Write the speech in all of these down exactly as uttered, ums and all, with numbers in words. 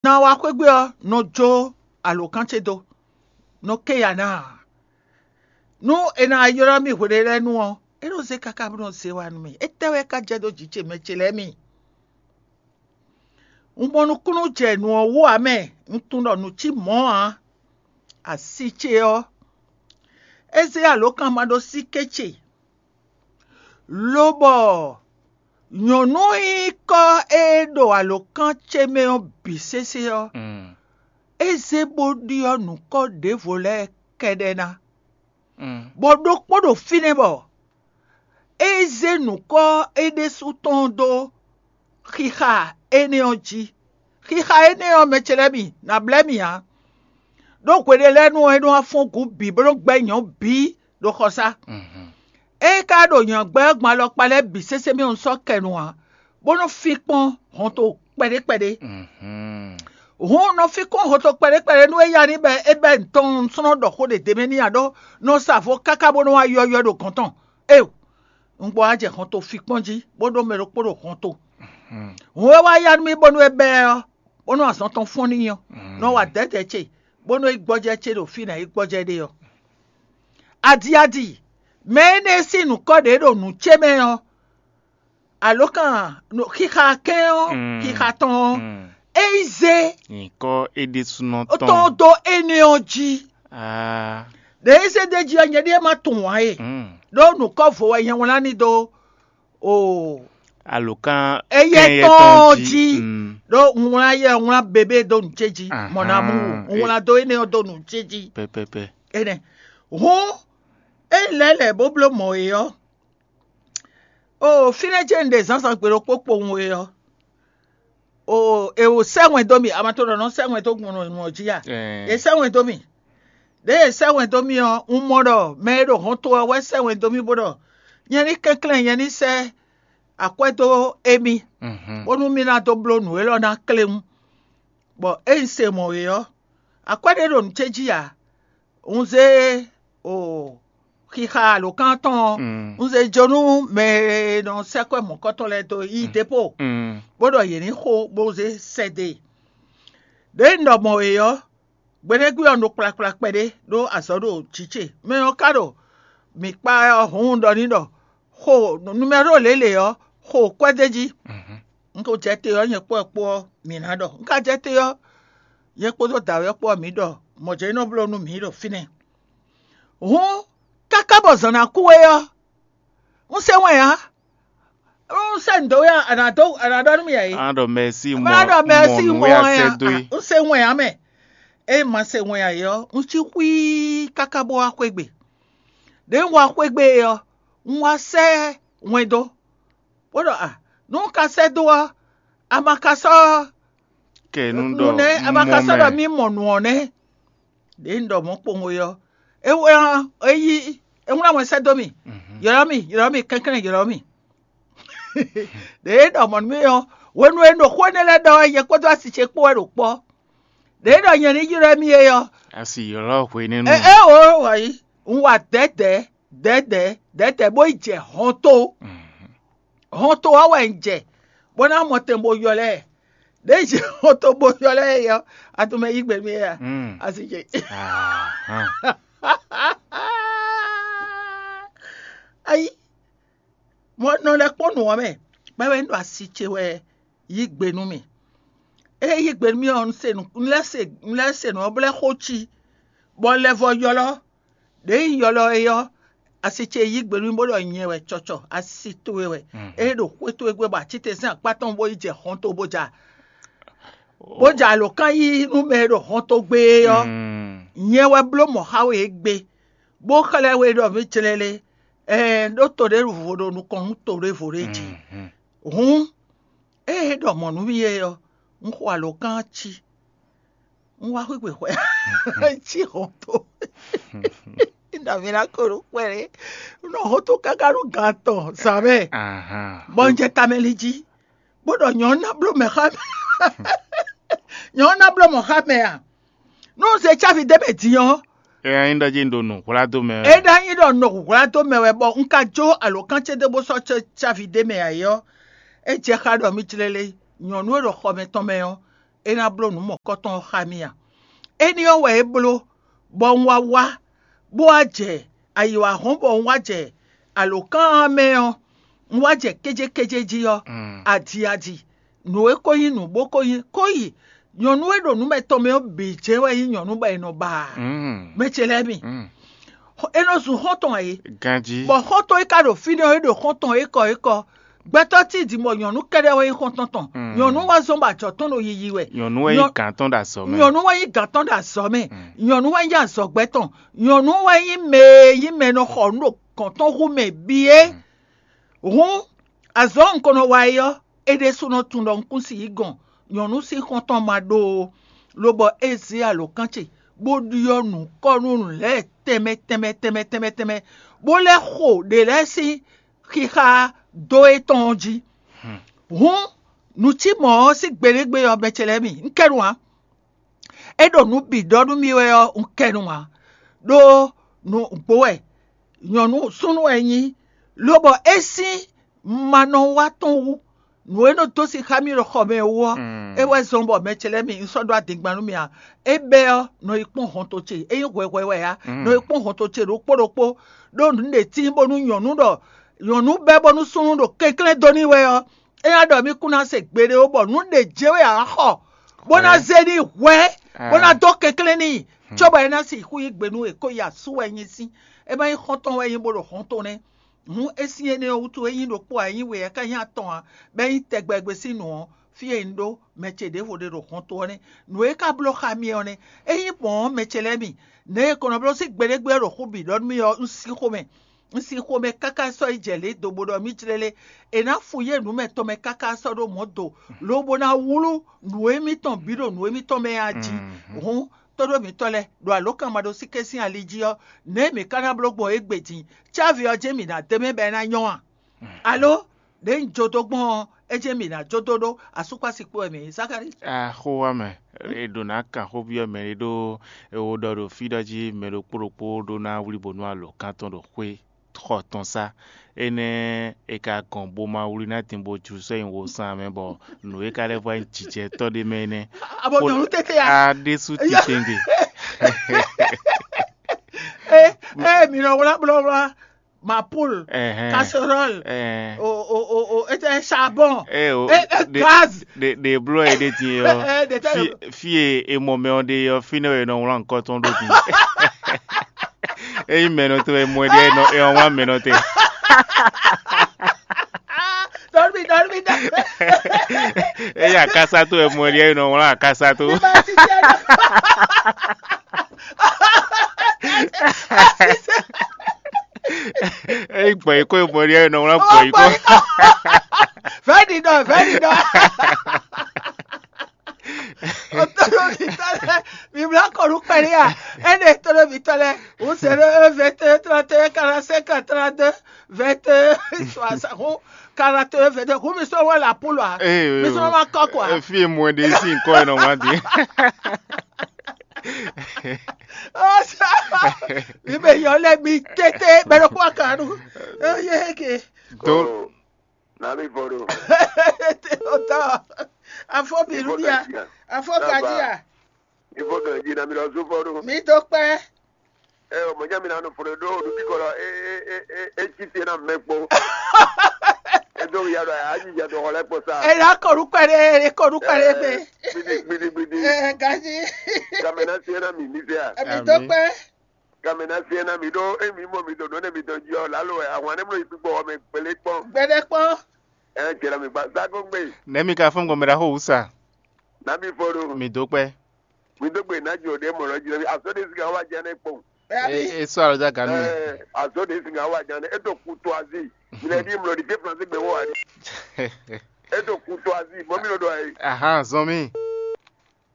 Na wá xwé gbe ɔ́, nɔ jó alǒkan ce dó, nɔ ké ya ná ǎ. Nú è nǎ ylɔ́ mì hweɖélɛ́nu ɔ́, é nɔ zé káká bó nɔ zé wá nú mì. Étɛ́ wɛ ka jɛ dó jǐ ce mɛ ce lɛ́ɛ mi? Un mɔ nukúnnú jɛ nǔ ɔ́ wú ǎ mɛ, un tunwun ɖɔ nǔ cí mɔ̌ ǎ. Asi ce ɔ́, é zé alǒkan ma ɖó síké ce, lobɔ nyɔ̌nu nyíkɔ e ɖo alǒkan ce mɛ ɔ́ bǐ sésé ɔ́, é zé bó ɖyɔ́ nǔkɔ ɖěvo lɛ́ɛ kɛ́ɖɛ́ ná, bɔ ɖokpó ɖo fínɛ́ bɔ é zé nǔkɔ é ɖésú tɔn dó xixa énɛ́ ɔ́ jí. Xixa énɛ́ ɔ́, mɛ ce lɛ́ɛ mi, nǎ blɛ́ mì ǎ. Ɖó hweɖélɛ́nu ɔ́, é nɔ wá fɔ́n gǔ bǐ bó nɔ́ gbɛ́ nyɔ̌ bǐ ɖo xɔsá. Ée ka ɖo nyɔ̌gbɛ́ ɔ́ gbɔn alɔkpa lɛ́ɛ bǐ sésé mɛ ɔ́, un sɔ́ kɛ nu ǎ, bó nɔ́ fín kpɔ́n hɔnto kpɛɖé kpɛɖé. Hǔn un nɔ fín kpɔ́n hɔnto kpɛɖé kpɛɖé nú é ya ní bɔ é bɛ́ nǔ tɔn un slɔ́n ɖɔ xó ɖě d'é mɛ n'i ǎ ɖó nɔ sa vo káká bó nɔ́ wá ywɔ́ywɔ́ ɖo gɔ̌n tɔn. Éeǒ, un gbɔ wá jɛ hɔnto fín kpɔ́n jí, bó ɖó mɛ ɖokpó ɖo hɔnto. Hǔn e wá ya nú mì bónú é bɛ́ ɛ ɔ́, bónú azɔn tɔn fɔ́n n'i ɔ́, nɔ wa dɛ̌dɛ̌ ce, bónú é gbɔjɛ́ ce ɖo fí nǎ yi gbɔjɛ́ ɖe ɔ́. Adi adi, mɛ énɛ́ e sín nǔkɔ ɖě ɖo nǔ ce mɛ ɔ́, alǒkan xixa kɛ́n ɔ́, xixa tɔn ɔ́, é yi zé nyǐkɔ é ɖésúnɔ tɔn tɔn dó énɛ́ ɔ́ jí. Aa, Ɖě e zé d'é jí ɔ́, nyɛ ɖíe ma tunwun ǎ e, ɖó nǔkɔ vo wɛ nyɛ wlán ní dó o alǒkan éyɛ́ kɛn tɔn ɔ́ jí. Ɖó un wlán yɛ wlán bebé dó nǔ ce jí, mɔ̌ ná mú wú. Un wlán dó énɛ́ ɔ́ dó nǔ ce jí. Pɛpɛpɛ. Énɛ́ hǔn, é lɛ́ lɛ̌ bó bló mɔ̌ é ɔ́, o fínɛ́ ce un ɖe zǎnzǎn gbe ɖokpó kpowun é ɔ́, o è wǒ sɛ́ wɛn dó mì, amato ɖɔ nɔ sɛ́ wɛn dó gbɔn nɔ jí a? È sɛ́ wɛn dó mì. Ɖěe è sɛ́ wɛn dó mì ɔ́, un mɔ ɖɔ mɛ e ɖo hɔn to ɔ́ wɛ sɛ́ wɛn dó mì bó ɖɔ nyɛ ní kɛnklɛ́n nyɛ ní sɛ́ akwɛ́ dó émí, bónú mì ná dó bló nǔ élɔ́ ná kléwún. Bɔ ée un se mɔ̌ é ɔ́, akwɛ́ ɖé ɖo nǔ ce jí ǎ. Un zé o xixa alǒkan tɔn ɔ́, un zé jó nú mɛ e nɔ sɛ́ kwɛ́ mɔ̌kɔtɔn lɛ́ɛ dó yí dépô, bó ɖɔ yě ní xo bó zé sɛ́ dó e. Ɖěe un ɖɔ mɔ̌ é ɔ́, gbeɖégbé ɔ́ ɖo kplakpla kpɛɖé ɖó azɔ̌ ɖo jǐ ce. Mɛ ɔ́ ka ɖo mǐ kpa ɔ́ hǔn un ɖɔ n'i ɖɔ xo numɛ́ro lělě ɔ́, xo kwɛ́ d'é jí. Un ko jɛ te ɔ́, nyɛ kpó ɛ kpó ɔ́, mǐ ná ɖɔ. Un ka jɛ te ɔ́, nyɛ kpódó dǎwe ɔ́ kpó ɔ́, mǐ ɖɔ mɔ̌ jɛ́n nɔ bló nú mǐ ɖo fínɛ́. Hǔn, káká bɔ zǎn ná kú é ɔ́, un se wɛn ǎ. Un sɛ́ nǔ dó we ɔ́, a nǎ dó a nǎ ɖɔ nú mì ǎ é. A ɖɔ mɛsí mɔ Má ɖɔ mɛsí mɔ mɔ nǔ e a wɛn sɛ́ dó é. Un se wɛn ǎ mɛ. Ée ma se wɛn ǎ é ɔ́, un cí xwíí káká bó wá xwé gbe. Ɖěe un wá xwé gbe é ɔ́, un wá sɛ́ wɛn dó, bó ɖɔ a, nú un ka sɛ́ dó ɔ́, a ma ka sɔ́ kɛ nú ɖɔ nɛ́, a ma ka sɔ́ ɖɔ mɛ. Mí mɔ nǔ ɔ́ nɛ́. Ɖěe un ɖɔ mɔ̌ kpowun é ɔ́, é wlán é yí é wlán wɛn sɛ́ dó mì. Ylɔ́ mì, ylɔ́ mì kɛnklɛ́n, ylɔ́ mì. Ɖěe é ɖɔ mɔ̌ nú mì ɔ́, hwenu e un ɖo xó énɛ́ lɛ́ɛ ɖɔ wɛ, nyɛ kpódó asi ce kpó wɛ ɖo kpɔ́. Ɖěe ɖɔ nyɛ ní ylɔ́ mì é ɔ́, asi ylɔ́ hwenɛ́nu. É é o wǎyi, un wa dɛ̌dɛ̌ dɛ̌dɛ̌ dɛ̌dɛ̌ bó yi jɛ hɔnto. Hɔnto ɔ́ wɛ un jɛ, bó ná mɔ tɛn bó ylɔ́ ɛ. Ɖěe jɛ hɔnto bó ylɔ́ ɛ ɔ́, a tunwun mɛ yí gbe mì é a? Asi ce. Ayi, mɔ nɔ lɛ́ kpɔ́n nǔ ɔ́ mɛ, bɔ é wɛ un ɖo asi ce wɛ yí gbe nú mì. Ée yí gbe nú mì ɔ́, un se nǔ un lɛ́ se un lɛ́ se nǔ ɔ́ bó lɛ́ xo cí, bɔ un lɛ́ vɔ ylɔ́. Ɖěe un ylɔ́ é ɔ́, asi ce yí gbe nú mì bó ɖɔ nyɛ wɛ cɔcɔ, asi towe wɛ. Ée ɖo xwé towe gbe bɔ acítɛ́nsɛ́n akpá tɔn bó yi jɛ hɔnto bó ja bó ja alǒkan yí nú mɛ e ɖo hɔnto gbe é ɔ́, nyɛ wɛ bló mɔ̌ xá we égbé, bó xlɛ́ we ɖɔ mǐ jlɛ́ lé, ɛɛ ɖó to ɖé vo ɖo nukɔn nú to ɖěvo ɖé jí. Hǔn, ée é ɖɔ mɔ̌ nú mì é ɔ́, un xo alǒkan ɔ́ cí, un wá xwígbe xwɛ cí hɔnto. Nɔ mì ná ko ɖo kpɛɖé, un nɔ hɔnto káká nú gan atɔn zǎn mɛ, bɔ un jɛ tamɛ lin jí, bó ɖɔ nyɔ̌ ná bló mɛ xá mɛ. Nyɔ̌ ná bló mɔ̌ xá mɛ a? Nú un se cávi d'é mɛ din ɔ́, É ná nyí ɖɔ jí un ɖo nǔ hwlá dó mɛ wɛ. É ná nyí ɖɔ un ɖo hwlá dó mɛ wɛ, bɔ un ka jó alǒkan ce dó bó sɔ́ cávi d'é mɛ ǎ é ɔ́, é jɛ xá ɖɔ mì jlɛ́ lé nyɔ̌nu e ɖo xɔ mɛtɔn mɛ ɔ́, é ná bló nǔ mɔ̌kɔtɔn ɔ́ xá mì a? Éní ɔ́ wɛ é bló, bɔ un wá wá, bó wá jɛ ayǐ wá hɔn, bɔ un wá jɛ alǒkan ɔ́ mɛ ɔ́, un wá jɛ kéjékéjé jí ɔ́, adi adi, nǔ e ko nyí nǔ bó ko nyí kó yi nyɔ̌nu e ɖo nǔ mɛtɔn mɛ ɔ́ bǐ jɛ́n wɛ nyí nyɔ̌nu bɔ è nɔ ba ǎ. Mɛ ce lɛ́ɛ mi, é nɔ zun xɔ́ntɔn ǎ é. Ganjí. Bɔ xɔ́ntɔn e ka ɖo fínɛ́ ɔ́, é ɖo xɔ́ntɔn ékɔ ékɔ. Gbɛtɔ́ cí din bɔ nyɔ̌nu kɛ́ɖɛ́ wɛ nyí xɔ́ntɔn tɔn. Nyɔ̌nu wá zɔ́n bɔ ajɔ̌ tɔn ɖo yiyi wɛ. Nyɔ̌nu wɛ nyí Nyɔ- gǎn tɔn ɖo azɔ̌ mɛ. Nyɔ̌nu wɛ nyí gǎn tɔn ɖo azɔ̌ mɛ. Nyɔ̌nu wɛ nyí azɔ̌gbɛ́ tɔn. Nyɔ̌nu wɛ nyí mɛ e nyí mɛ e nɔ xɔ nǔ ɖo gɔ̌n tɔn hú mɛ bǐ é. Hǔn, azɔ̌ un ko nɔ wa é ɔ́, é ɖésúnɔ tunwun ɖɔ un kún si yí gɔn nyɔ̌nu sín xɔ́ntɔn ma ɖó ó, lobɔ é zé alǒkan ce bó ɖyɔ́ nǔkɔ́nú lɛ́ɛ tɛnmɛ tɛnmɛ tɛnmɛ tɛnmɛ tɛnmɛ, bó lɛ́ xo ɖě lɛ́ɛ sín xixa dó étɔn ɔ́ jí. Hǔn, nǔ cí mɔ̌ ɔ́ sín gbeɖégbé ɔ́, mɛ ce lɛ́ɛ mi, un kɛ nu ǎ. É ɖo nǔ bǐ ɖɔ nú mì wɛ ɔ́, un kɛ nu ǎ, ɖó nǔgbó wɛ, nyɔ̌nu súnnu wɛ é nyí, lobɔ é sín ma nɔ wá tɔn wú. Nǔ e nɔ dó sin xá mì ɖo xɔ mɛ wú ɔ́, é wɛ zɔ́n bɔ mɛ ce lɛ́ɛ mi un sɔ́ ɖó adingban nú mì ǎ. É bɛ́ ɔ́, nɔ yi kpɔ́n hɔnto ce, é nyí hwɛhwɛ wɛ ǎ, nɔ yi kpɔ́n hɔnto ce ɖokpó ɖokpó, ɖó nǔ ɖě tíin bónú nyɔ̌nu ɖɔ nyɔ̌nu bɛ́ bónú súnnu ɖo kɛnklɛ́n dó n'i wɛ ɔ́, é ná ɖɔ mì kún ná se gbeɖé ó, bɔ nǔ ɖě jɛ́n wɛ ǎ xɔ, bó ná zé n'i hwɛ̌, bó ná dó kɛnklɛ́n n'i, cóbɔ é ná sixú yí gbe nú è ko yi asú wɛ nyi sín, é má nyí xɔ́ntɔn wɛ nyí bó ɖo hɔn tɔn nɛ́. Hǔn é sín énɛ́ ɔ́ wútu é nyí ɖokpó ǎ, é nyí we ǎ, é ka nyí atɔn ǎ, bɔ é nyí tɛgbɛgbɛ sín nǔ ɔ́, fí e un ɖó mɛ ce ɖěvo ɖe ɖo hɔn to ɔ́ nɛ́. Nǔ e ka bló xá mi ɔ́ nɛ́. Ényí mɔ̌ ɔ́, mɛ ce lɛ́ɛ mi, nɛ̌ è ko nɔ bló sín gbeɖégbé ɔ́ ɖo xú bǐ ɖɔ nú mì ɔ́, un sín xomɛ. Un sín xomɛ káká sɔ́ yi jɛ lě do bó ɖɔ mì jlélé. È nǎ fu yé nǔ mɛ tɔn mɛ káká sɔ́ ɖó mɔ̌ do, lobo ná wlú nǔ émítɔn bǐ ɖo nǔ émítɔn mɛ a jí. Hǔn, tóɖó mǐtɔn lɛ́ɛ ɖo alǒkanmaɖósíké sín ali jí ɔ́, nɛ̌ mǐ ka ná bló gbɔn égbé din? Cávi ɔ́ jɛ́n mǐ ná d'é mɛ bɔ é ná nyɔ́ a? Alo, ɖě un jó dó gbɔn ɔ́, é jɛ́n mǐ ná jó dó ɖó asúkpási kpó wɛ mǐ nyí Zakalíi? Axó wa mɛ, è ɖǒ ná kan xó byɔ́ mɛ ɖé ɖó è wo ɖɔ ɖo fí ɖɔ jí mɛ ɖokpó ɖokpó ɖó ná wlí bǒ nú alǒkan tɔn ɖo xwé xɔ tɔn sá. Énɛ́ è ka gɔn bo ma wlí ná din bó jlú sɔ́ nyi wo sán mɛ bɔ nǔ e ka lɛ́ vɔ nyí jǐjɛ tɔn ɖé mɛ énɛ́. Abo nyɔ̌nu tete ya. A ɖésú titewungbe. Ée ée mǐ nɔ wlá blɔ́wlá, mapul, Ɛhɛn. Casserole, Ɛhɛn. O o o o ete charbon, Ɛ o, e e de- gaz. De de blɔ e de din yɔ. Ɛ, de tɛ- Fi fi e e mɔ mɛ ɔ de yɔ fi ne e nɔ wlán nkɔ tɔn ɖo din. Eyi mɛ nɔ tɛ e mɔ e de e nɔ e nɔ wlán mɛ nɔ tɛ. Dɔrbi dɔrbi dɔrbi. Eyi akasa to e mɔ e de e nɔ wlán akasa to. Eyi gbɔn yi ko e mɔ e de e nɔ wlán gbɔn yi ko. Vɛɖi dɔ vɛɖi dɔ. Otɔlɔmitɔ lɛ, mi bla kɔnu kpɛɖe ya. Ɛnɛ tɔlɔmitɔ lɛ, un zéro un vingt et un trente et un quarante-cinq trente-deux vingt et un soixante, quarante et un vingt et un. Hu mi sɔ wɛ la polo a? Mi sɔ ma kɔ quoi? Efi e mɔ ɖe si nkɔ e nɔ wá di. Mi bɛ yɔ lɛ mi tete bɛ ɖo kó akanu. Eye ke. Do. Nami fɔ ɖo. Otɔ. Afɔ mi lu bia. Afɔ gadia. Ifɔ ganji na mi lɔ zun fɔ ɖo. Mi do kpɛ. Ɛ o mɔdze mi na nɔ fɔ ɖo ɖo ɖo ti kɔ lɔ e e e e e ti te na mɛ kpɔ. Edo ya ɖo ayi ya dɔ xɔ lɛ kpɔ sa. Ela kɔnu kpɛ ɖe, ele kɔnu kpɛ ɖe gbe. Gbidi gbidi gbidi. Ɛ gaji. Kamɛ na se na mi mi se a. Emi do kpɛ. Kamɛ na se na mi ɖo emi mɔ mi do nɔ ne mi dɔn ji ɔ lalo ɛ ahwan ne mlɔ yi kpikpɔ ɔmɛ gbele kpɔ. Gbɛɖɛ kpɔ. Ɛ jɛra mi gba zago gbe. Nɛ mi ka fɔn gbɔn mɛ ɖaxó wusa. Na mi fɔ ɖo. Mi do kpɛ. Mi do gbe na jɔ ɖe mɔ lɔ ji na mi aso de sika wa jɛ ne kpɔn. E e sɔ alɔ ja ganu. Ɛ aso de sika wa jɛ ne e to kutu azi. Mi lɛ di mlɔ di ke flansi gbe wɔ ali. E to kutu azi mɔ mi lɔ do ayi. Ahan zɔn mi.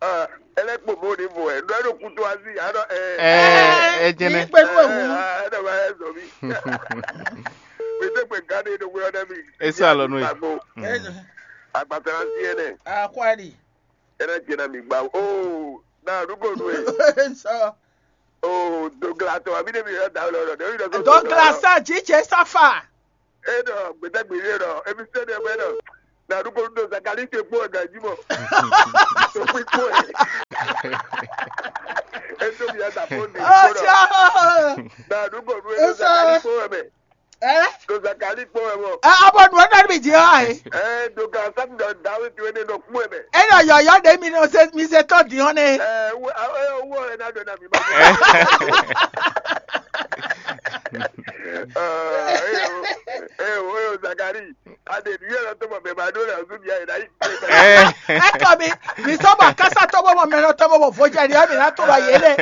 Ɛ, ele kpo mo ni vo ɛ ɖɔ ɖo kutu azi aɖɔ ɛ. Ɛ ɛ jɛnɛ. Kpe kpe hu. Ɛɖɔ ba ɛ zɔ mi. Mi de gbe gane ɖo wulɔ ɖe mi. Esa alɔ nu ye. Agbo. Agbasara si ɛnɛ. Akwari. Ɛnɛ jɛnɛ mi gba o na nugo nu ye. Sɔ. O dogla tɔ mi de mi yɔ da lɔ lɔ de mi dɔ so. Dogla sa jijɛ safa. Eɖɔ gbedagbe ɖe ɖɔ emisɛn ɖe bɛ ɖɔ Na ɖu kɔnu ɖo Zakali te kpó wɛ ganji mɔ. Tokpí kpó wɛ. Eto bia da fo ni kpó ɖɔ. Ocha. Na ɖu kɔnu ɖo Zakali kpó wɛ mɛ. Ɛ? Ɖo Zakali kpó wɛ mɔ. Ɛ, abɔ nǔ ɔ́ nɔ mi jí ɔ́ ɛ. Ɛ, ɖo ka sá mi ɖɔ Dawidi wɛ ne nɔ kpó wɛ mɛ. E nɔ yɔyɔ ɖe mi nɔ se mi se tɔ di hɔn ne. Ɛ, wo ɛ wo ɛ na ɖo na mi ma. Ɛ, ɛ, o, ɛ, o, ɛ, o, Zakali. Aleluya lɔ tó mɔ mɛ ma ɖó lɛ ɔzú bia yɛ ɖ'ayí. Ɛ. Ekɔ mi, mi sɔ bɔ kásá tó bɔ mɔ mɛ nɔ tɔn bɔ bɔ vodza ɖi ɔmì ná tó bɔ yé lɛ.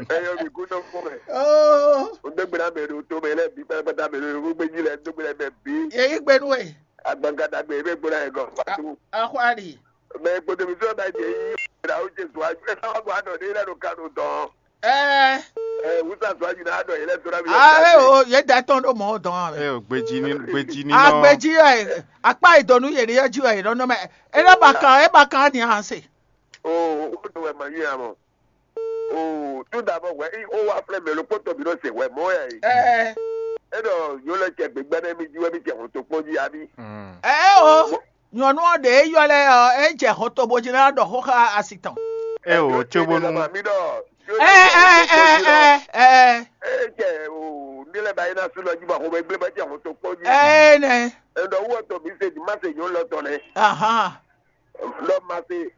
Ɛyɔ mi kú tó fún mɛ. Oo, O dó gbéra mɛ ɖo tó mɛ lɛ bí pátápátá mɛ ɖo yókù gbé jí lɛ dó gbéra mɛ bí. Yé yí gbé nú ɛ. Agbanga dagbe ebe gbéra yɛ gɔ. Fatu. Axwali. Mɛ kpotó mi sɔ ba jɛ yí. Ra o jɛ zɔ aju. Ɛ sábà bɔ anɔ ɖe lɛ ɖo kanu dɔn. Ɛɛ. Ɛ wusa zɔ aju na anɔ yɛ lɛ sɔ na mi. Ah, e o, ye da tɔn ɖo mɔ dɔn a. E o, gbeji ni, gbeji ni nɔ. Agbeji ɛ, akpa idonu yɛ ni yɛ ju ɛ nɔ nɔ mɛ. E lɛ ba kan, e ba kan ni a se. O, o do wɛ ma yi amɔ. O, tout d'abord wɛ i o wa flɛ mɛ lo kpɔtɔ bi nɔ se wɛ mɔ ya yi. Ɛɛ. E dɔ yo lɛ cɛ gbegbe ne mi ji wɛ mi cɛ hɔn to kpɔn ji abi. Ɛɛ o. Nyɔnu ɔ́ ɖě é ylɔ́ lɛ́ɛ ɔ́, é jɛ hɔn to bó jí ná ɖɔ xó xá asi tɔn. É o, cóbónú. Mi ɖɔ. Ɛ ɛ ɛ ɛ ɛ. Ɛ jɛ o, ní lɛ ba yi ná sú lɔ jí bɔ xɔmɛ gblé bɔ jɛ hɔn to kpɔn jí. Ɛ nɛ. Ɛ ɖɔ wɔ tɔ mi se di ma se nyɔ lɔ tɔ nɛ. Ahan. Lɔ ma se,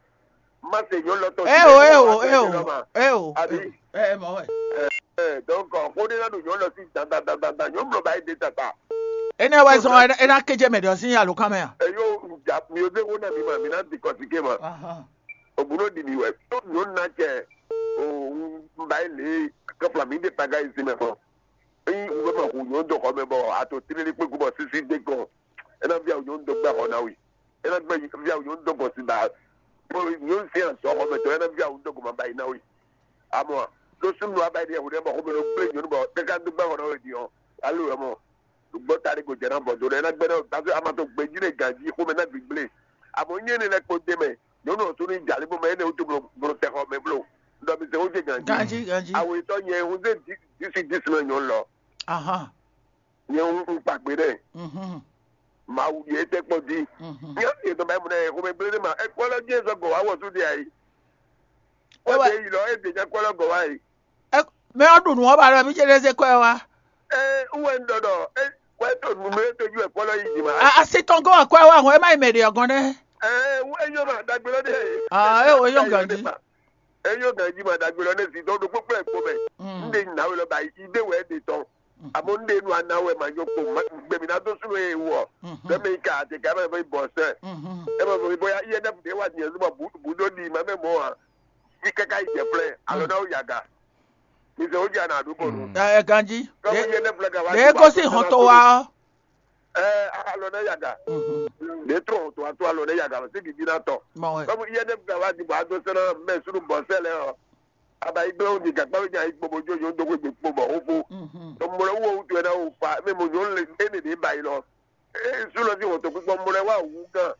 ma se nyɔ lɔ tɔ. Ɛ o, ɛ o, ɛ o, ɛ o. Abi. Ɛ mɔ wɛ. Ɛ, donc, xó ɖé ná ɖo nyɔ̌nu lɔ sí dandandandan, nyɔ̌nu lɔ ba yi ɖe tata. Énɛ́ wɛ zɔn é ná kéjé mɛ ɖɔ sín alǒkan mɛ a? Eyo, ja mi ò dé xó ná mi ma, mi ná di kɔsíké ma. Ahan. Òbúrò ɖi mi wɛ, tó nyɔ̌nu ná cɛ, o, un ba yi lě, kɛfla mi ɖe paga yi sí mɛ fɔ. Eyi un bɛ ma hu nyɔ̌nu dó xɔ mɛ bɔ ato tlélí kpé gu bɔ sísí dé gɔn. É ná via nyɔ̌nu dó gbɛ xɔ ná we. É ná gbɛ via nyɔ̌nu dó gɔn sí ba. Bó nyɔ̌nu sí azɔ̌ xɔ mɛ tɔn, é ná via nyɔ̌nu dó gɔn ma ba yi ná we. Amɔ, ɖó súnnu aba yi ɖe hwɖɛ bɔ xɔmɛ ɖo gblé nyɔ̌nu bɔ káká dó gbɛ xɔ ná we din ɔ́, alo wɛ mɔ. Gbɔ ta ɖé go jɛ ná bɔ do ɖe ná gbɛ ɖe, parce que a ma to gbɛji ɖe ganji xomɛ ná gbigblé. Amɔ nyɛ ne lɛ kpo de mɛ, nyɔnu ɔtún ní jalí bɔ mɛ énɛ́ wútu blo blo tɛ xɔ mɛ blo. Ɖɔ mi se wó jɛ ganji. Ganji, ganji. Awo etɔ nyɛ wúze disi disi mɛ nyɔnu lɔ. Ahan. Nyɛ wú un kpa gbe ɖɛ. Mhm. Mawu yɛ tɛ kpɔ di. Mhm. Nyɛ yɛ tɔ ba mu nɛ xomɛ gblé ɖe ma. Ekpɔ lɔ jɛ zɔ gɔ wa wɔ su de ayi. Kpɔ Ewa- de yi lɔ e de nya kpɔ lɔ gɔ wa yi. Ɛ, mɛ ɔ́ ɖu nǔ ɔ́ ba ɖɔ mí ce ɖe zé kɔ́ ɛ wá. Ɛ, wɛ un ɖɔ ɖɔ, ɛ, wɛ to nunu e to ju ɛ kpɔ lɔ yi dzi ma. A- asi tɔn gɔ́ wɛ kɔ́ ɛ wá hɔn é má yi mɛ ɖě ɔ́ gɔ́n nɛ́. Ɛ, wɛ nyɔ ma dagbe lɔ de. Ah, ɛ, wɛ nyɔ ganji. Ɛ, nyɔ ganji ma dagbe lɔ ne si dɔ ɖo kpɔkpɔ ɛ kpɔ mɛ. Mm. N de na we lɔ ba yi de wɛ de tɔn. Mm. Amo n de nu ana wɛ ma nyɔ kpɔ ma gbɛ mi na do sunu e wɔ. Mhm. Bɛ mi ka te ka bɛ bɔ sɛ. Mhm. E bɛ bɔ ya iye ne de wa nyɛ zuma bu bu do di ma mɛ mɔ a. Yi kaka yi jɛ flɛ alɔ na wo yaga. Mi se o ja na du ko nu. Ɛ ganji. Kɔmi iye ne flɛ ka wa. Ɖe gosi hɔn to wa. Ɛ alɔ ne yaga. Mhm. Ne trɔ to ato alɔ ne yaga se bibi na tɔ. Mɔ wɛ. Kɔmi iye ne flɛ wa di bɔ a do sɛnɛ mɛ sunu bɔ sɛ lɛ ɔ. Aba yi gblɛ wo di gakpa bi nya yi kpo bo jo yo do ko gbe kpo bɔ o fo. Mhm. Mɔ lɛ wo wutu ɛ na wo fa mɛ mo nyɔ le ene de ba yi lɔ. Ee, Zulɔ sín hɔntogbígbɔ́ mɔ lɛ́ wá wǔ gán.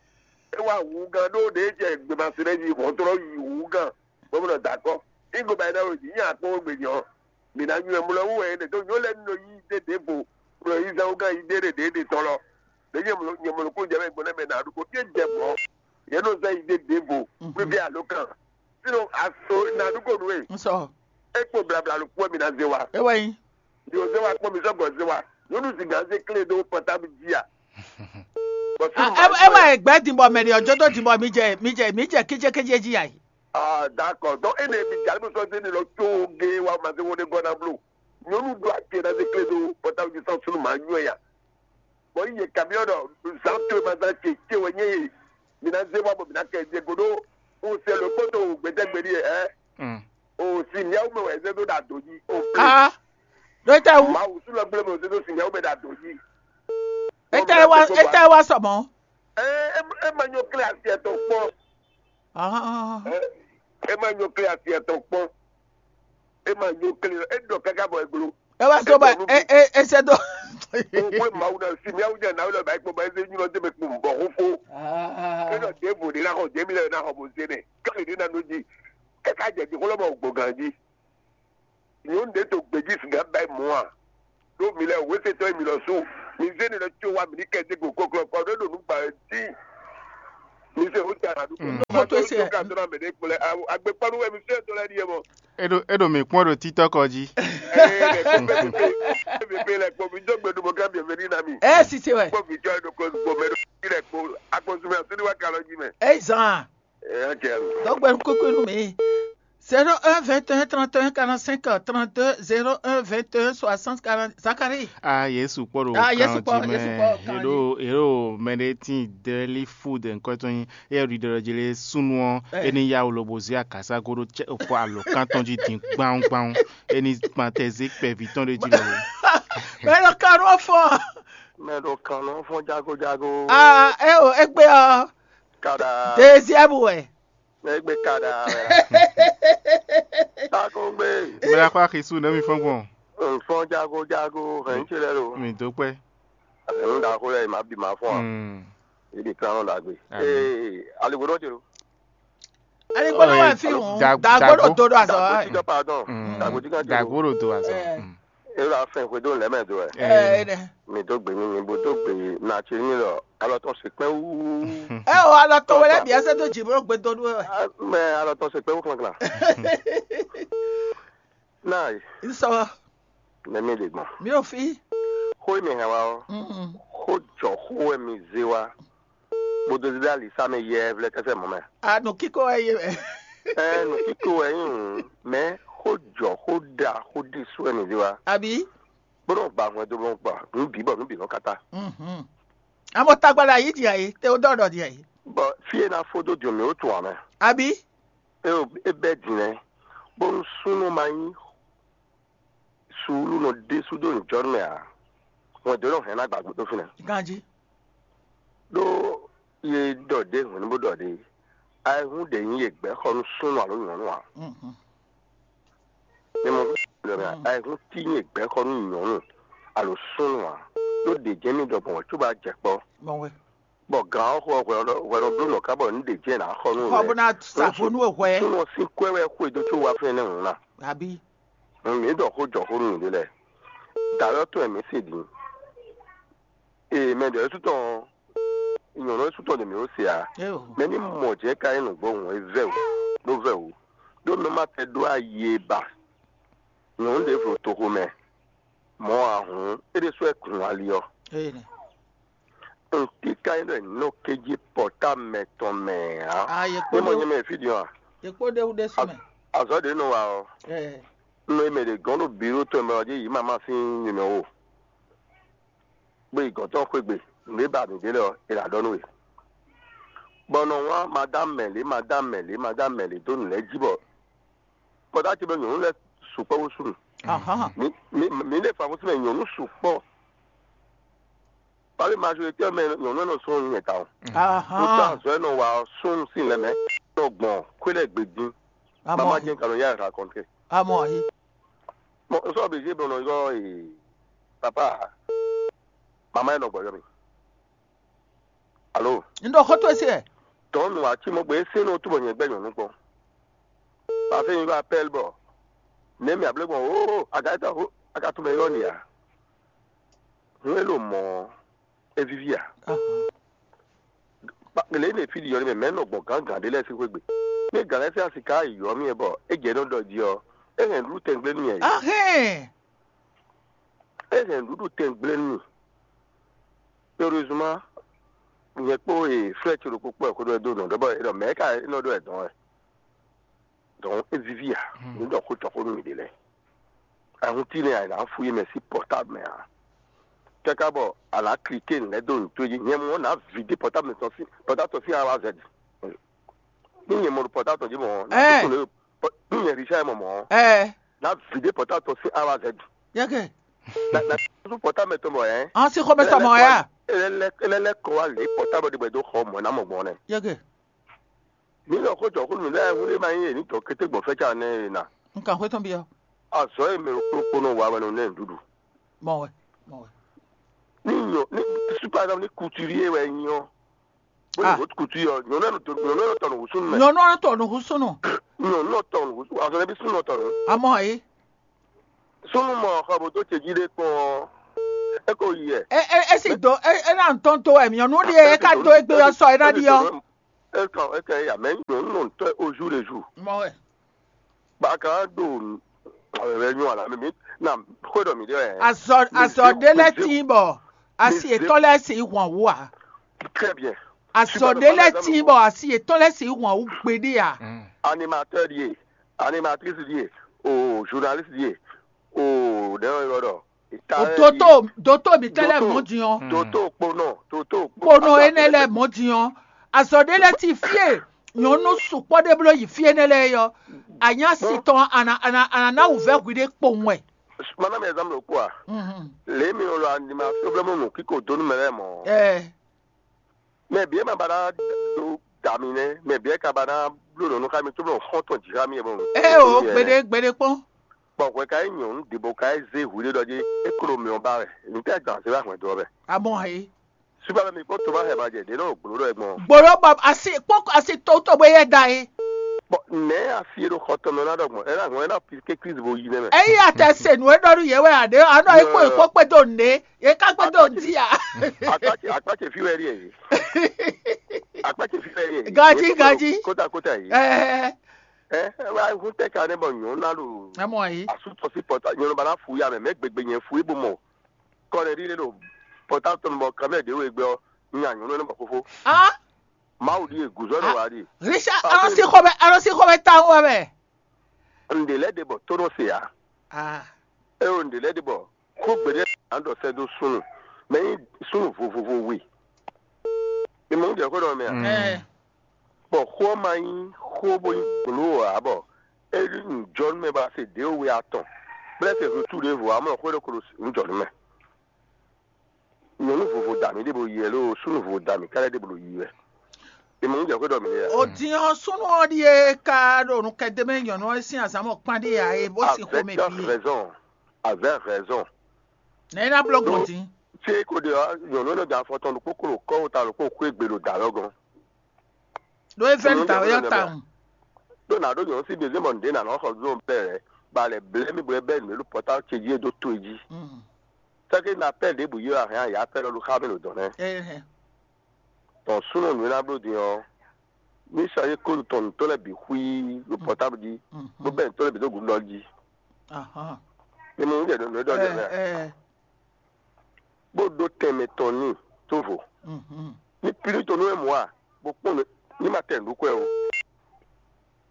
É wá wǔ gán ɖó ɖě jɛ gběmasin lɛ́ɛ jí hɔntlɔ́ yi wǔ gán, bó nɔ da akɔ́. Ígo ba yi ná wezǐ nyi akpɔ́n gbe nyɔ. Mǐ ná nywɛ mlɔ wú wɛ é ɖe tó nyɔ lɛ́ɛ nɔ yí dé ɖěvo, nɔ yí zán wú gán yi dé ɖě ɖě ɖě tɔn lɔ. Ɖě nyɛ mlɔ nyɛ mlɔ kó jɛ mɛ gbɔn nɛ́ mɛ nǎ ɖu kó ɖíe jɛ mɔ̌. Yě nɔ zán yi dé ɖěvo, fífí alo kan. Sínɔ aso nǎ ɖu kó nú we. Ŋsɔ. É kpo blabla ló kpó mì ná zé wa. É wɛ nyí. Ɖi o zé wa kpɔ́n mi sɔ́ gbɔ zé wa. Nyɔnu zǐngán zé klé ɖó pɔtáblu jí a? Bɔ súnnu ma ɛ wɛ gbɛ dìbò mɛ ɖi ɔjɔ tó dìbò mi jɛ mi jɛ mi jɛ kéjékéjé jí ayi. Ah, d'accord. Donc, ene mi jali mi sɔ zeni lɔ tso ge wa ma se wo ne gɔ na blo. Nyɔnu do ake na se kle do pɔtawu ji sɔn sunu ma nyɔ ya. Bɔ yi ye kamiɔ dɔ zan to ma zan ce ce wɛ nye ye. Mi na ze wa bɔ mi na kɛ ze go do. O se lo kpoto gbɛtɛ gbɛdi ye ɛ. Mm. O si miawu me wɛ ze do da do ji. O kle. Ah. Ɖo tɛ wu. Mawu su lɔ gble me o ze do si miawu me da do ji. Etɛ wa etɛ wa sɔmɔ. Ɛ ɛ ma nyɔ kle asi ɛtɔ kpɔ. Ahán. Ɛ, e ma nyɔ kle asi ɛtɔn kpɔn. E ma nyɔ kle, e ɖɔ kaka bɔ e glo. E wa so ba e e e se do. Kókó e Mawu na si miawu nya na wulɔ ba e kpɔ ba e se nyɔ de me kpɔ bɔ xo fo. E ɖɔ de vo de la xɔ de mi lɛ na xɔ bo se ne. Kele de na no ji. E ka jɛ di xɔ lɔ bɔ gbɔ gan ji. Nyɔnu ɖe to gbeji siga ba e mɔ a. Ɖo mi lɛ wese tɔ e mi lɔ su. Mi zé nǔ lɛ́ɛ có wá mǐ ní kɛ dé go kɔklɔkɔ ɖé ɖo nǔ gbǎ wɛ dín. Mi se wú ta nǔ. Mm. Nɔ mɔ tó se. Tó ka dó ná mɛ ɖé kplɛ. Agbekpɔ́nú wɛ mi fíɛ tó lɛ́ɛ ɖíe mɔ. Eɖo eɖo mi kpɔ́n ɖo títɔ́ kɔ jí. Ee, lɛ kpɔ bɛ bɛ bɛ lɛ kpɔ mi dó gbe ɖo mɔ ká bienvenue na mi. Ɛ sise wɛ. Kpɔ mi jɔ ɖo ko gbɔ mɛ ɖo fi lɛ kpɔ akɔsumɛ asúniwa kalɔ jí mɛ. Ɛ zan. Ɛ, ok. Dɔgbe kúkú nú mi. Zéro un vingt et un trente et un quarante-cinq trente-deux, zéro un vingt et un soixante quarante. Zacharie. Ah, Yesu kpɔ́ ɖo Ah, Yesu kan kpɔ́, jí Yesu mɛ. kpɔ́ kan jí. Eɖo eɖo mɛ ɖé tín deli food nkɔtɔn nyi. Eye ɖiɖɔ ɖɔ jí lé súnnu ɔ́, É. é ní yá wǔ lobo zé akasá gó ɖó cɛ-, fɔ alɔ̌kán tɔn jí din gbawungbawun. É ní kpan tɛ zé kpɛví tɔn ɖé jí lɔ. Mɛ ɖo kan nú ɔ́ fɔ. Mɛ ɖo kan nɔ fɔn jagojago. Ah, é o, égbé ɔ́. Kada. Deuxième wɛ. Égbé kada. Takongbe. Bla xɔ axisu nɛ mi fɔn gbɔn. Nfɔn jagojago hɛn tsi lɛ lo. Mi dó kpɛ. Ɛnu da xo lɛ ma bi ma fɔn. Hmm. Ibi kan nɔ dagbe. Amen. Ee, aligbodɔ tse lo. Aligbodɔ Oh, wà eh, fi hùn. Da- Dagbo Dagbo. Ɖo do ɖo azɔ. Dagbo wa. Tsi dɔ pardon. Mm. Dagbo tsi kan tse lo. Dagbo ɖo do azɔ. Eh. Mm. E la fɛn xwe dó lɛ mɛ do ɛ. Eh. Eh, ne. Mi dó gbe mi mi bo dó gbe na tse mi lɔ alɔ tɔn se kpɛn wú. Eh, o alɔ tɔn wele bi ase do dzi bro gbe do ɖu wɛ. Mɛ alɔ tɔn se kpɛn wú klanklan. Náà Nsɔ. Nɛ mi ɖe gbɔn. Mi ò fi. Xó e mi hɛn wa ɔ́, Mm. Xó jɔ xó wɛ mi zé wa. Bó dó zé dó ali sá mɛ yɛ vlɛ kɛsɛ mɔ mɛ. A nǔ kíkó wɛ yé mɛ. Ɛ nǔ kíkó wɛ nyí hǔn, mɛ xó jɔ xó ɖa xó ɖésú wɛ mi zé wa. Àbí? Bó nɔ gba hwɛndo bó nɔ gba nǔ bǐ bɔ nǔ bǐ nɔ kata. Mhm. Àmọ́ tagbala yìí di àyè, tẹ ó dɔ̀dọ̀ di àyè. Bɔ fí e ná fó dó diɔn mǐ ó tun ǎ mɛ. Àbí? É o é bɛ́ din lɛ́ɛ, bónú súnnu ma nyí suúlu nɔ ɖésú dó nǔjɔnú mɛ ǎ, hwɛndo e nɔ hɛn ná gbǎgbó dó fínɛ́. Ganjí. Ɖó ye ɖɔ ɖě hwɛ̌nú bó ɖɔ ɖě, ayihún ɖě nyí ye gbɛ̌ xɔ nú súnnu alo nyɔ̌nu ǎ. Mhm. Mi mɔ ɖɔ mɛ Mm. Ayihún tí nyí ye gbɛ̌ xɔ nú nyɔ̌nu alo súnnu ǎ. Ɖó ɖě jɛ́n mì ɖɔ gbɔn wɛ cóbɔ a jɛ kpɔ́. Gbɔn wɛ. Bɔ gǎn ɔ́ xo ɔ́ hwɛ ɔ́ hwɛ nɔ bló nɔ ká bɔ nǔ ɖě jɛ́n ná xɔ nú Xɔ wɛ. Bó ná sa vo nú we hwɛ. Súnnu ɔ́ sín kwɛ́ wɛ xwedó có wá fɛ́nɛ́ hǔn ná. Àbí? Mi ɖɔ xó jɔ xó nú mǐɖé lɛ́ɛ. Dǎwe ɔ́ tɔn wɛ mǐ se din. Ee, mɛ ɖɔ é sú tɔn nyɔ̌nu é sú tɔn ɖě mǐ ó se ǎ. Éo. Mɛ ní mɔ jɛ̌ ka nyí nǔgbó hǔn é vɛ́ wǔ, bó vɛ́ wǔ. Ɖó mɛ ma tɛ ɖó ayi e ba. Nyɔ̌nu ɖěvo toxo mɛ, mɔ̌ ǎ hǔn, é ɖésú wɛ kun ali ɔ́. Énɛ́. Nǔtí ka nyí ɖɔ è nɔ kéjí pɔ̌ta mɛ tɔn mɛ ǎ. A yě kpó Ní mɔ ɖé nyɛ mɛ fí din ɔ́, yě kpó ɖé wú ɖésú mɛ. Azɔ̌ ɖě nɔ wa ɔ́, Ɛ, nɔ e mɛ ɖě gɔ́n ɖo bǐ ɖó tɔn mɛ ɔ́ jí yǐ ma má sín nyɛmɛ o. Gbé yi gɔ̌n tɔn xwé gbe, nǔ e ba mǐ ɖe lɛ́ɛ ɔ́, è nǎ ɖɔ nú we. Bɔ nɔ wlán madám mɛ lě, madám mɛ lě, madám mɛ lě dó nǔ lɛ́ɛ jí bɔ kpɔdá ce mɛ nyɔ̌nu lɛ́ɛ sukpɔ́ bó súnnu. Ahán. Mǐ mǐ mǐ ɖe fǎnfún sín mɛ nyɔ̌nu sukpɔ́. Pali majorité mɛ nyɔ̌nu ɔ́ nɔ sɔ́ nyɛ tawun. Ahán. Kótó azɔ̌ e nɔ wa ɔ́, súnnu sín lɛ́ mɛ nɔ gbɔn xwé lɛ́ɛ gbe dín. Mama Amɔ́. Jɛ́n ka nɔ yá ɛ raconter. Amɔ́ ayi. Bon, n sɔ́ obligé bɔ nɔ ylɔ́ ee papa mama e nɔ gbɔjɔ mi. Alo. N ɖo xó towe se wɛ. Tɔ̌ nu ǎ cí mɔ gbé é sɛ́n nɔ túbɔ nyɛ gbɛ́ nyɔ̌nu kpɔ́n. Pafé nyi ɖó apɛ́l bɔ nɛ̌ mì ablé gbɔn oo agatɔ ó agatunmɛ ylɔ́ nì ǎ. Hun e ɖo mɔ̌ ɔ́, é víví ǎ. Ahán. Lě e mɛ fí ɖi ɔ́ nɛ́ mɛ mɛ̌ nɔ gbɔn gǎngǎn ɖé lɛ́ɛ sín xwé gbe. Ní gǎn lɛ́ɛ sín asi ka yi yɔ̌ mì wɛ bɔ é jɛ nɔ ɖɔ jí ɔ́, é hɛn nǔɖuɖu tɛngblénu mì ǎ. Ahɛn. É hɛn nǔɖuɖu tɛngblénu mì. Heureusement, nyɛ kpó e frère ce ɖokpó kpɔ́ xó ɖɔ dó nɔ ɖɔ bɔ é ɖɔ mɛ̌ ka é nɔ ɖɔ ɛ dɔn wɛ. Donc é víví ǎ. Hmm. Nǔ ɖɔ xó tɔn xó nú mì ɖe lɛ́ɛ. Ahun tínɛ a nǎ fú yé mɛ sín portable mɛ ǎ. Káká bɔ a nǎ cliquer nǔ lɛ́ɛ dó nǔ towe jí. Nyɛ mɔ ná vidé portable tɔn sín portable tɔn sín awa zɛ ɖi. Ní nyɛ mɔ ɖo portable tɔn jí mɔ ná Ɛ. Tó nú ní nyɛ Richard mɔ mɔ Ɛ. Ná vidé portable tɔn sín awa zɛ ɖi. Yɛkɛ. Na na sún pɔtá mɛ tɔn bɔ yɛn. An si xɔmɛ tɔmɔ ya. Ele lɛ ele lɛ kɔ wa lě pɔtá bɔ ɖibɛ dó xɔ mɔ ná mɔ gbɔn nɛ. Yɛkɛ. Mi lɔ ko jɔ ko mi lɛ wuli ma yi ni tɔ kété gbɔn fɛ ca nɛ na. N kan xwé tɔn biɔ. Azɔ ye mɛ kpokpo nɔ wa wɛ nɔ nɛ ɖuɖu. Mɔ wɛ. Mɔ wɛ. Ni nyɔ ni super dam ni couturier wɛ nyɔ. Bó Ah. Ni kutu yɔ nyɔnu ɛnu tɔ nyɔnu ɛnu tɔ nù wusunu mɛ. Nyɔnu ɛnu tɔ nù wusunu. Nyɔnu ɛnu tɔ nù wusunu azɔ ne bi sunu tɔ nù. Amɔ ayi. Sunu mɔ xɔ bó tó tse jí ɖé kpɔn. É ko yi ɛ. É é é sì dó é é ná tɔn dó wɛ nyɔ̌nu ɖíe é ka dó égbé ɔ́ sɔ é ná ɖi ɔ́. É tɔn é kɛ ya mɛ nyɔ̌nu nɔ tɔ́ au jour le jour. Mɔ wɛ. Ba ka ɖo ɛ nyɔ ala mi mi na xwé ɖɔ mi ɖe wɛ. Azɔ azɔ ɖé lɛ́ tín bɔ asi yětɔn lɛ́ sì hwàn wú ǎ. Très bien. Azɔ ɖé lɛ́ tín bɔ asi yětɔn lɛ́ sì hwàn wú gbeɖé ǎ. Animateur ɖíe, animatrice ɖíe, o journaliste ɖíe, o ɖɛ̌ ɔ́ ɖɔ. Doto doto mǐtɛn lɛ́ɛ mɔ̌ din ɔ́, doto kponɔ doto kponɔ énɛ́ lɛ́ɛ mɔ̌ din ɔ́, azɔ̌ ɖé lɛ́ɛ ti fíe nyɔ̌nu sukpɔ́ ɖé bló yi fí énɛ́ lɛ́ɛ é ɔ́, anyá si tɔn ana ana ana ná wǔvɛ́ hwi ɖé kpowun wɛ. Mana mi ɛzan ɖokpó a? Lě mi wɔ lɔ anima problème nɔ kíko dó nú mɛ lɛ́ɛ mɔ. Ɛ Mɛ bǐ e ma ba ná dó da mi nɛ́, mɛ bǐ e ka ba ná bló nɔ̌ nú xá mi, cóbɔ xɔ́n tɔn jǐ xá mi é mɔ. Ɛ o gbeɖé gbeɖé kpɔ́n. Bɔ hwɛ ka nyí nyɔ̌nu ɖěbɔ ka yi zé hwiɖé ɖɔ jí é klo mɛ ɔ́ ba wɛ. Nǔ tɛ́ gbǎn zé wá hwɛ̌n dó ɔ́ mɛ? Amɔ he. Supa mɛ mi kpɔ́n to ma hɛ ma jɛ ɖě nɔ gblo ɖɔ ɛ gbɔn. Gbolo bɔ asi kpɔ́n asi tɔwútɔw bó yɛ da é. Bɔ nɛ̌ asi e ɖo xɔ tɔn mɛ ná ɖɔ gbɔn? Ɛ ná hɔn ɛ ná pi ké Kristu bo yi nɛ́ mɛ. Eyi atɛ se nǔ e ɖɔ nú yě wɛ aɖé anɔ é kó é kó kpé dó nǔɖé é ká kpé dó jí a. Akpákè akpákè fi wɛ ɖíe. Akpákè fi wɛ ɖíe. Gaji gaji. Kóta kóta yi. Ɛɛ. Ɛ ɛ wá hún tɛ ka ne bɔ nyɔ̌nu ná ɖo. Ɛ mɔ yi. Asútɔ sí pɔtà nyɔ̌nu bá ná fu ya mɛ mɛ gbegbe nyɛ fu ibo mɔ. Kɔnɛɖi ɖe ɖo pɔtà tɔn bɔ kamɛ ɖe wo egbe ɔ nya nyɔ̌nu ne bɔ fofo. Ah. Mawu ɖi eguzɔ ɖe wa ɖi. Richard alɔsi xɔmɛ alɔsi xɔmɛ ta wɔ mɛ. Ǹɖe lɛ ɖe bɔ tónɔ se ya. Ah. Eo ǹɖe lɛ ɖe bɔ xó gbeɖé ǎ ɖɔ sɛ́ dó súnnu, mɛ nyí súnnu vovovo we. Mi mɔ jɛ xó ɖɔ mɛ a? Ɛ Bɔ xó ɔ́ ma nyí xó bó nyí gblǒ ǎ, bɔ é ɖi nǔjɔnú mɛ ba se ɖě we atɔn, bó lɛ́ se hwetú ɖěvo ǎ, mɔ xó ɖokpó ɖo nǔjɔnú mɛ. Nyɔ̌nu vovo da mǐ ɖěvo yi wɛ loo, súnnu vovo da mǐ ká lɛ́ ɖěvo yi wɛ. Mi mɔ jɛ xó ɖɔ mɛ a? O din ɔ́ súnnu ɔ́ ɖíe ka ɖo nukɛndé mɛ nyɔ̌nu ɔ́ sín azǎn mɔ kpán ɖíe ǎ é bó sin xomɛ bǐ. Avec raison, avec raison. Nɛ̌ ná bló gbɔn dín? Ṣé kò ɖe ɔ́ nyɔ̌nu énɛ́ da afɔ tɔn ɖokpó kó ɖo kɔ́ ta ɖokpó xwé gbe ɖo dǎ lɔ gɔ́n? Ɖó é vɛ́ nǔ dǎwe ɔ́ tawun. Ɖó nǎ ɖó nyɔ̌nu sín bězé mɔ nǔɖé nǎ nɔ xɔ zɔn bɛ́ lɛ́, ba lɛ blɛ́ mì bɔ é bɛ́ nǔ e ɖo pɔ́táwú ce jí é dó to é jí. Sɛ́kɛ ná pɛ́ ɖěbǔ yi wɛ a hɛn a yǎ pɛ́ lɔ ɖo xá mɛ ɖo dɔ̌n nɛ́. Tɔn súnnu nǔ e ná bló din ɔ́, ní sɔ́ yí kóɖu tɔn nǔtɔ́ lɛ́ɛ bǐ xwí ɖo pɔ́táblu jí, bó bɛ́ nǔtɔ́ lɛ́ɛ bǐ dó gǔdo jí. Mi mɔ nǔ jɛ nǔ e ɖɔ jɛ mɛ a? Bó ɖó tɛnmɛ tɔn n'i tó vo. Ní pílí tɔn nú wɛ mɔ̌ a, bó kpɔ́n nǔ ní ma tɛ nǔ ɖó kwɛ o.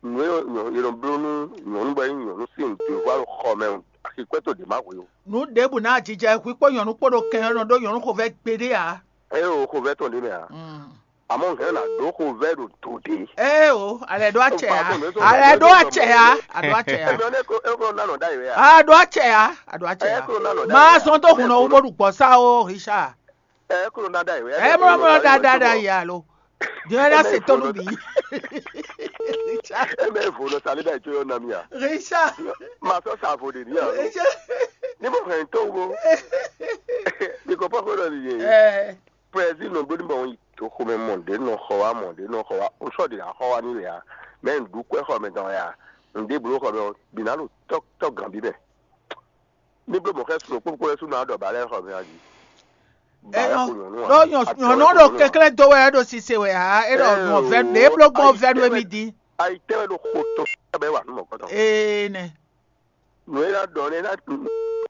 Nǔ e è nɔ bló nú nyɔ̌nu bɔ é nyí nyɔ̌nu sín nǔɖé vɔ ɖo xɔ mɛ, axikwɛ́ tó ɖě má hwe o. Nǔ ɖěbǔ ná jijɛ hwi kpó nyɔ̌nu kpó ɖo kɛn ɔ́ nɔ ɖó nyɔ̌nu xovɛ́ gbeɖé ǎ. Ée o xovɛ́ tɔn ɖě mɛ a? Àmọ́ hɛn ná ɖó xovɛ́ ɖo do ɖě. Ée o, alɛ ɖó acɛ á. Alɛ ɖó acɛ á. Aɖó acɛ á. Ɛmɛ ɔ́, é kó é kó ná nɔ ɖ'ayǐ wɛ a? Aɖó acɛ á. Aɖó acɛ á. Má zɔn dó hun nɔ wú bó ɖu gbɔ̌ sá ó, Richard. Ɛ kúrò ná dá ìwé. Ɛ mlɔ mlɔ dada dada yi alo. Diɛ na se tɔnu bi. Ɛ mɛ vo nɔ sali da ìtso yɔ nami a? Richard. Ma sɔ sa vo de ni a? Richard. Ni mo hɛn to wo. Ni ko pɔ ko dɔ ni ye. Ɛ. Prezi nɔ gbɛdun bɔ to xomɛ mɔ de nɔ xɔ wa mɔ de nɔ xɔ wa o sɔ de la xɔ wa ni le a. Mɛ n du kwɛ xɔ mɛ dɔn ya. N de blo xɔ mɛ bi na lo tɔ tɔ gan bi mɛ. Ní bló mɔ̌ xɛ́ sun kpókpó lɛ́ɛ sú nɔ adɔ bǎ lɛ́ɛ xɔ mɛ a jí. Bǎ lɛ́ɛ xo nyɔ̌nu a? Ɖó nyɔ̌nu ɖo kɛnklɛ́n dó wɛ é ɖo sise wɛ ǎ, é ɖɔ nɔ vɛ́ ɖě bló gbɔn vɛ́ nú émí dín. Ayi tɛ́ wɛ ɖo xo tɔn bɛ́ wǎ nú mɔ̌kɔtɔn. Ee nɛ. Nǔ e ná ɖɔ nɛ́ ná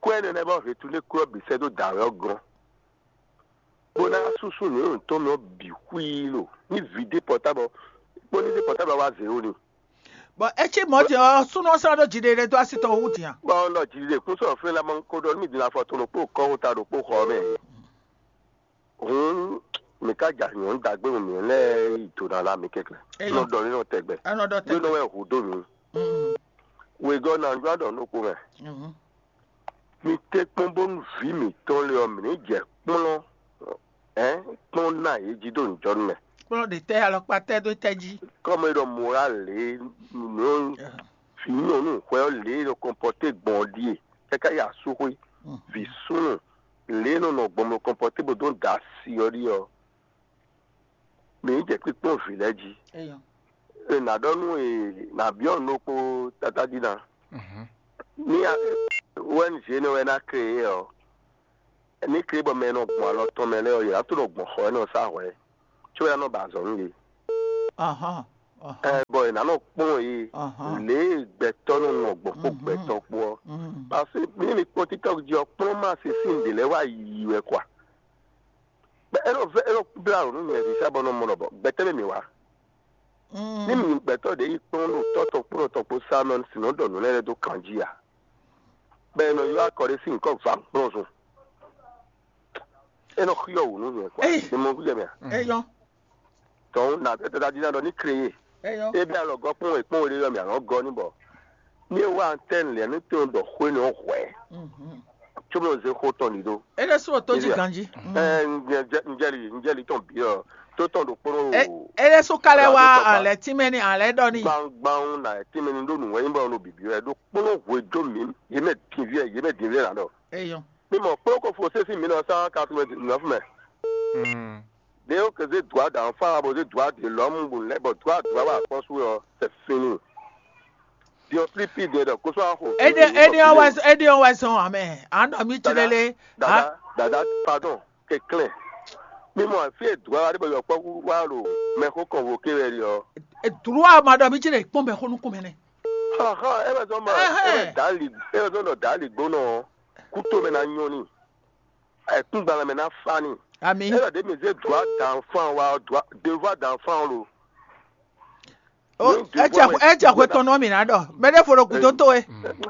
kú ɛ nɛnɛ bɔ hětú ní kú ɔ́ bǐ sɛ́ dó dǎ wɛ ɔ́ gɔ́n. Bó ná súsú nǔ e tɔn mɛ ɔ́ bǐ xwíí lo. Ní vǐ dé pɔtábɔ kpó ní dé pɔtábɔ wá zě ó ni. Bɔ é cí mɔ̌ din ɔ́, súnnu ɔ́ sɔ́ ɖó jiɖiɖe dó así tɔn wú din a? Bɔ un ɖɔ jiɖiɖe kún sɔ́ fɛ́n lá mɔ kó ɖɔ nú mi din afɔ tɔn ɖokpó kɔ́ ta ɖokpó xɔ mɛ. Hǔn mi ka ja nyɔ̌nu dagbe mǐ lɛ́ɛ yi do ná lá mi kɛ́klɛ́. Nɔ ɖɔ ní nɔ tɛgbɛ. Nɔ ɖɔ tɛgbɛ. Nɔ wɛ hu dó mi. Wegɔ́ ná ɖó aɖɔ nú kpó mɛ. Mi tɛ́ kpɔ́n bónú vǐ mǐtɔn lé ɔ́, mǐ ní jɛ kplɔ́n ɛ kplɔ́n ná yě jí dó nǔjɔnú mɛ. Kplɔ́n ɖe tɛ́ alɔkpa tɛ́ dó tɛ́ jí. Kɔmi ɖɔ mɔra lě nɔ vǐ nyɔ̌nu hwɛ ɔ́ lě e nɔ kɔnpɔté gbɔn ɔ́ ɖíe káká yi asúxwé. Vǐ súnnu lě e nɔ nɔ gbɔn mɔ kɔnpɔté bó dó da asi ɔ́ ɖíe ɔ́, mǐ ní jɛ kpíkpɔ́n vǐ lɛ́ɛ jí. È nǎ ɖɔ nú è nǎ byɔ́ nǔ ɖokpó tátájí ná. Ní wɛ́nú zě énɛ́ wɛ ná kreyé ɔ́, Ní ké bɔ mɛ e nɔ gbɔn alɔ tɔn mɛ lɛ́ɛ ɔ́, yě ná tó nɔ gbɔn xɔ e nɔ sá hwɛ̌, có é ná nɔ ba azɔ̌ nú yě. Ahán, ahán, Ɛ, bɔ è nǎ nɔ kpɔ́n yě ahán. Lě e gbɛtɔ́ nɔ nɔ gbɔn kpó Mhm. gbɛtɔ́ kpó ɔ́. Mm. Parce que ní mi kpɔ́n TikTok jí ɔ́, kplɔ́n ma se sín ɖě lɛ́ɛ wá yi wɛ kwa. Bɛ é nɔ vɛ é nɔ blá nǔ nyɛ ɖi sá bɔ nɔ mɔ nɔ bɔ gbɛtɛ́ mɛ mi wá. Mm. Ní mi gbɛtɔ́ ɖě yi kplɔ́n ɖo tɔ́ tɔn kpó tɔn kpó sá mɛ sinɔ ɖɔ nǔ lɛ́ɛ ɖó kan jí a? Bɛ è nɔ ylɔ́ akɔ ɖé sín nyǐkɔ va kplɔ́n zun. É nɔ xyɔ wǔ nú nyɛ kwa. Ey. Ní mɔ gúdɛ mɛ. Eyɔn, Tɔn na tata jí ná ɖɔ ní créé. Eyɔn. Ébí alɔ gɔ kpɔn wɛ kpɔn wɛ ɖé yɔ mɛ alɔ gɔ ní bɔ. Ní é wá antenne lɛ ní tó ɖɔ xwé ní hwɛ. Mhm. Tso mɔ zé xó tɔn ní ɖó. Ele sɔ tó jí Elia. Ganji. Ɛ njɛli njɛli tɔn bi ɔ tó tɔn ɖo kpɔn o. Ele sɔ kalẹ Ra wa tó tɔn alɛ tí mɛ ni alɛ dɔ ni. Gbangban na tí mɛ ni ɖó nù wɛ yín bɔ nɔ bìbí wɛ ɖó kpɔn hwɛ jó mi yé mɛ dín viɛ yé mɛ dín viɛ là ɖɔ. Eyɔn. Ní mɔ kplɔ́n ko fo sésì mí nɔ sán quatre-vingt-dix-neuf mɛ. Ɖé ó ké zé dua ɖǎn fán abo zé dua ɖě lɔ́mú bó lɛ́ bɔ dua dua wá akpɔ́sú ɔ́, c'est fini. Diɔslipi ɖe ɖɔ kósó axo. Ede ede ɔn wɛ ede ɔn wɛ sɔn amɛ. Anɔ mi tsi lele. Dada dada pardon, kɛklɛn. Mímɔ fí e dua wá ɖé bɔ yɔkpɔ́kú wá ɖo mɛxó kɔn vo ké wɛ ɖi ɔ́. Dua ma ɖɔ mi tsi le kpɔn mɛ xó nukún mɛ nɛ. Xɔxɔ, é wɛ zɔn mɔ é wɛ dǎ li é wɛ zɔn ɖɔ dǎ li gbónɔ ɔ́, kú tó mɛ ná nyɔ́ n'i. Ɛkúngbalán mɛ ná fá n'i. Ami. É ɖɔ ɖě mi zé dua dan fán wa ɔ́, dua devoir dan fán lo. O Ní etsɛ devoir etsɛ hwe tɔn nɔ mi ná ɖɔ. Mɛ ɖé fo ɖo gúdo to we.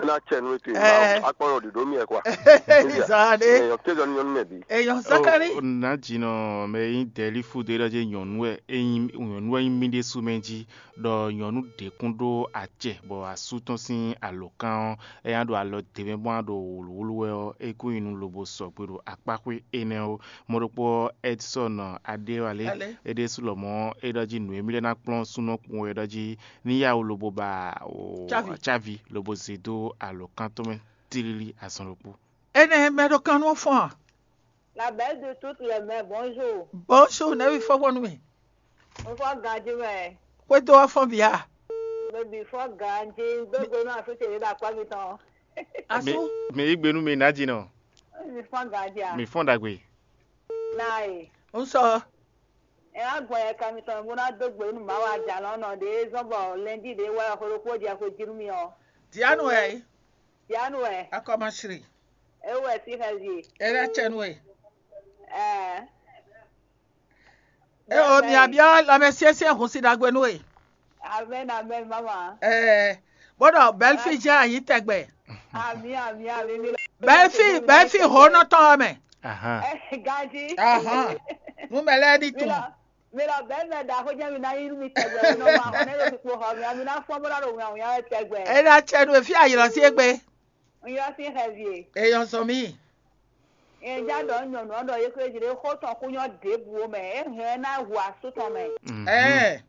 Ná tsɛ nú ètò Ɛ. Akpɔnɔ ɖiɖo mi ɛ kwa. Zan ɖe. Èèyàn kéjọ ní nyɔnú mɛ bí. Èèyàn Zakari. Nà jìnnà mɛ yín dɛ̀lí fúdo é ɖɔ jẹ́ nyɔ̀nú ẹ̀ nyɔ̀nú ẹ̀ nyí mí ɖésú mɛ jí ɖɔ nyɔ̌nu ɖě kún ɖó acɛ bɔ asú tɔn sín alǒkan ɔ́, é ná ɖo alɔ d'é mɛ bó ná ɖo wlǔwlú wɛ ɔ́, é kún nyi nú lobo sɔgbe ɖo akpáxwé énɛ́ ó. Mɔ̌ ɖokpó ɔ́, Ɛdsɔ́ɔn Adéwalé, é ɖésú lɔmɔ̌ é ɖɔ jí nǔ e mì lɛ́ ná kplɔ́n súnnu ɔ́ kpowun é ɖɔ jí ní yá wú lobo ba cávi lobo zě dó alǒkan tɔn mɛ tlílí azɔn ɖokpó. Énɛ́ mɛ ɖo kan nú fɔ́n a? La belle de toutes les mères, bonjour. Bonjour, nɛ̌ ví fɔ́n gbɔn nú mì? Mo fɔ ganji mɛ. Xwédo wá fɔ́n bǐ a? Bébí fɔ ganji, gbégbé nú asú ce ɖé ɖo akpá mitɔn. Asú? Mi yí gbe nú mi nǎ jí nɔ. Mi fɔ ganji a? Mi fɔ́n ɖagbe. Na e. Ń sɔ. Ẹ wá gbɔn yɛ ka mitɔn bó ná dó gbe nú Mawu ajalɔ nɔ ɖé zɔn bɔ lɛndi ɖé wá xwe ɖokpó jɛ xwe jí nú mi ɔ. Dianu wɛ. Dianu wɛ. Akɔmasri. Ewɛ sí xɛzi. Ela tsɛnu wɛ. Ɛɛ. E o mi abiɔ lɔmɛ siɛsiɛ hun si ɖagbe nú we. Amen, amen, mama. Ɛɛ, bó ɖɔ bɛlfi jɛ anyi tɛgbɛ. Ami, ami, ami, mi lɔ. Bɛlfi bɛlfi ho nɔ tɔn mɛ. Ahan. Ɛ, gaji. Ahan. Numɛ lɛ di Mi tun. Lɔ, mi lɔ bɛn mɛ da ko jɛ mi na yi mi tɛgbɛ, mi nɔ ma hɔn ne lo kpo hɔ mi, mi na fɔn bó na lo ŋa ŋa tɛgbɛ. E na tsɛ nu efi ayirɔ si egbe. N yɔ si xɛ vie. Eyɔn sɔ mi. Eja ɖɔ nyɔnu ɔ́ ɖɔ yé kúré jí ɖé xó tɔn kú nyɔ́ ɖěbǔ ó mɛ, é hɛn ná hu asú tɔn mɛ. Ɛɛ.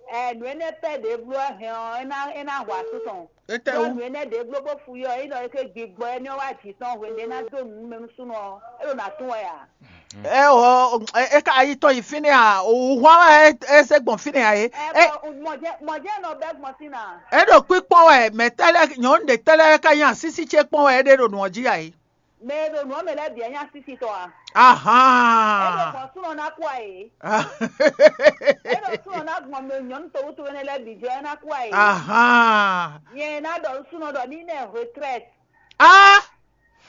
Ɛ, nǔ énɛ́ pɛ́ ɖě bló wɛ hɛn ɔ́, é ná é ná hu asú tɔn. Étɛ́ Ɖó wú? Nǔ énɛ́ ɖě bló bó fu yɔ é ɖɔ é ké gbigbɔ énɛ́ ɔ́ wá jǐ tɔn hwenu ɖé ná dó nǔ mɛ nú súnnu ɔ́, é ɖo nǎ tún wɛ ǎ. Ɛ o, e ka ayi tɔn yi fínɛ́ a? Òwúhwan wɛ é zé gbɔn fínɛ́ a é? Ɛ É bɔ mɔjɛ mɔjɛ nɔ bɛ́ gbɔn sín ná. É ɖo kpíkpɔ́n wɛ mɛ̌tɛ́ lɛ́ɛ nyɔ̌nu ɖě tɛ́ lɛ́ɛ ka nyi asísí ce kpɔ́n wɛ é ɖe ɖo nǔ ɔ́ jí a é? Mɛ e ɖo nǔ ɔ́ mɛ lɛ́ɛ bǐ ɛ nyí asísi tɔn a? Ahan. É ɖo gbɔn súnɔ ná kú a é? É ɖo súnɔ ná gbɔn mɛ nyɔ̌nu towútu énɛ́ lɛ́ɛ bǐ jɔ é ná kú a é? Ahan. Nyɛ ná ɖɔ súnɔ ɖɔ ní nɛ retraite. Ah!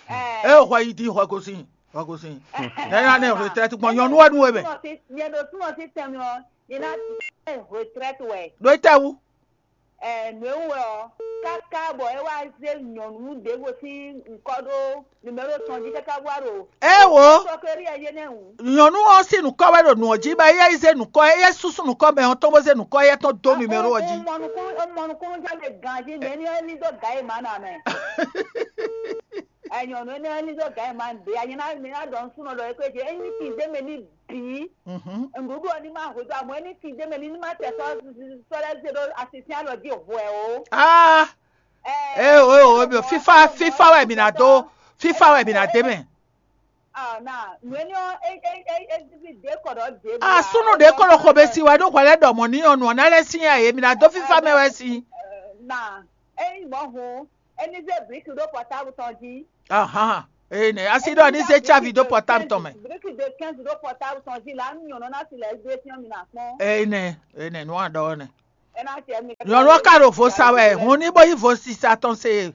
Ɛ. É hwɛ yi di hwɛ gosín hwɛ gosín. Nyɛ ná nɛ retraite gbɔn nyɔ̌nu wɛ nú we mɛ. Nyɛ ɖo súnɔ sí tɛn mɛ ɔ́, nyɛ ná nɛ retraite wɛ. Ɖo é tɛ wú? Ɛ, nǔ e wú wɛ ɔ́, káká bɔ é wá zé nyɔ̌nu ɖěvo sín nǔkɔ ɖó numɛ́ro tɔn jí káká wá ɖo É wo. Sɔkeri ɛ yé nɛ́ wǔ. Nyɔ̌nu ɔ́ sín nǔkɔ wɛ ɖo nǔ ɔ́ jí bɔ éyɛ́ yi zé nǔkɔ éyɛ́ súsú nǔkɔ mɛ ɔ́ tɔn bó zé nǔkɔ éyɛ́ tɔn dó numɛ́ro ɔ́ jí. Mɔnukún mɔnukún jáde ganjí mɛ ní ɔ́ ní dó gǎ e má nɔ amɛ. Ɛ, nyɔ̌nu énɛ́ ɔ́ ní dó gǎ e má ɖě anyí ná mi ná ɖɔ nú súnɔ ɖɔ é kó é jí é ní tin dé mɛ ní bǐ. Mhm. Nǔɖuɖu ɔ́ ní má hwedó amɔ̌ é ní tin dé mɛ ní ní má tɛ sɔ́ sɔ́ lɛ́ɛ zé ɖó asisɛn alɔ jí hwɛ ó. Ah! Ɛ, Eo eo eo, fífá fífá wɛ mǐ ná dó fífá wɛ mǐ ná dé mɛ. Ah, na nǔ énɛ́ ɔ́ é é é é é ɖě kɔ ɖɔ ɖě. Ah, súnnu ɖě kɔ ɖo xo bɛ si wɛ ɖó hwɛ lɛ́ ɖɔ mɔ̌ ní ɔ́ nǔ ɔ́ ná lɛ́ sín yá yě mǐ ná dó fífá mɛ wɛ si. Na é nyí mɔ̌ hun é ní zé blǐki ɖó pɔtábu tɔn jí. Ahan. Eye nɛ asi ɖɔ ní zé tsávi dó pɔtábu tɔn mɛ. Briki de quinze ɖó pɔtábu tɔn jí la, nú nyɔ̌nu ná si lɛ dó é fyɔ́n mi ná kpɔ́n. Eye nɛ, eye nɛ nú aɖɔ ɔ́ nɛ. É ná tiɛ mi. Nyɔ̌nu ɔ́ ka ɖo vo sa wɛ, hun ní bó yí vo sisa tɔn se.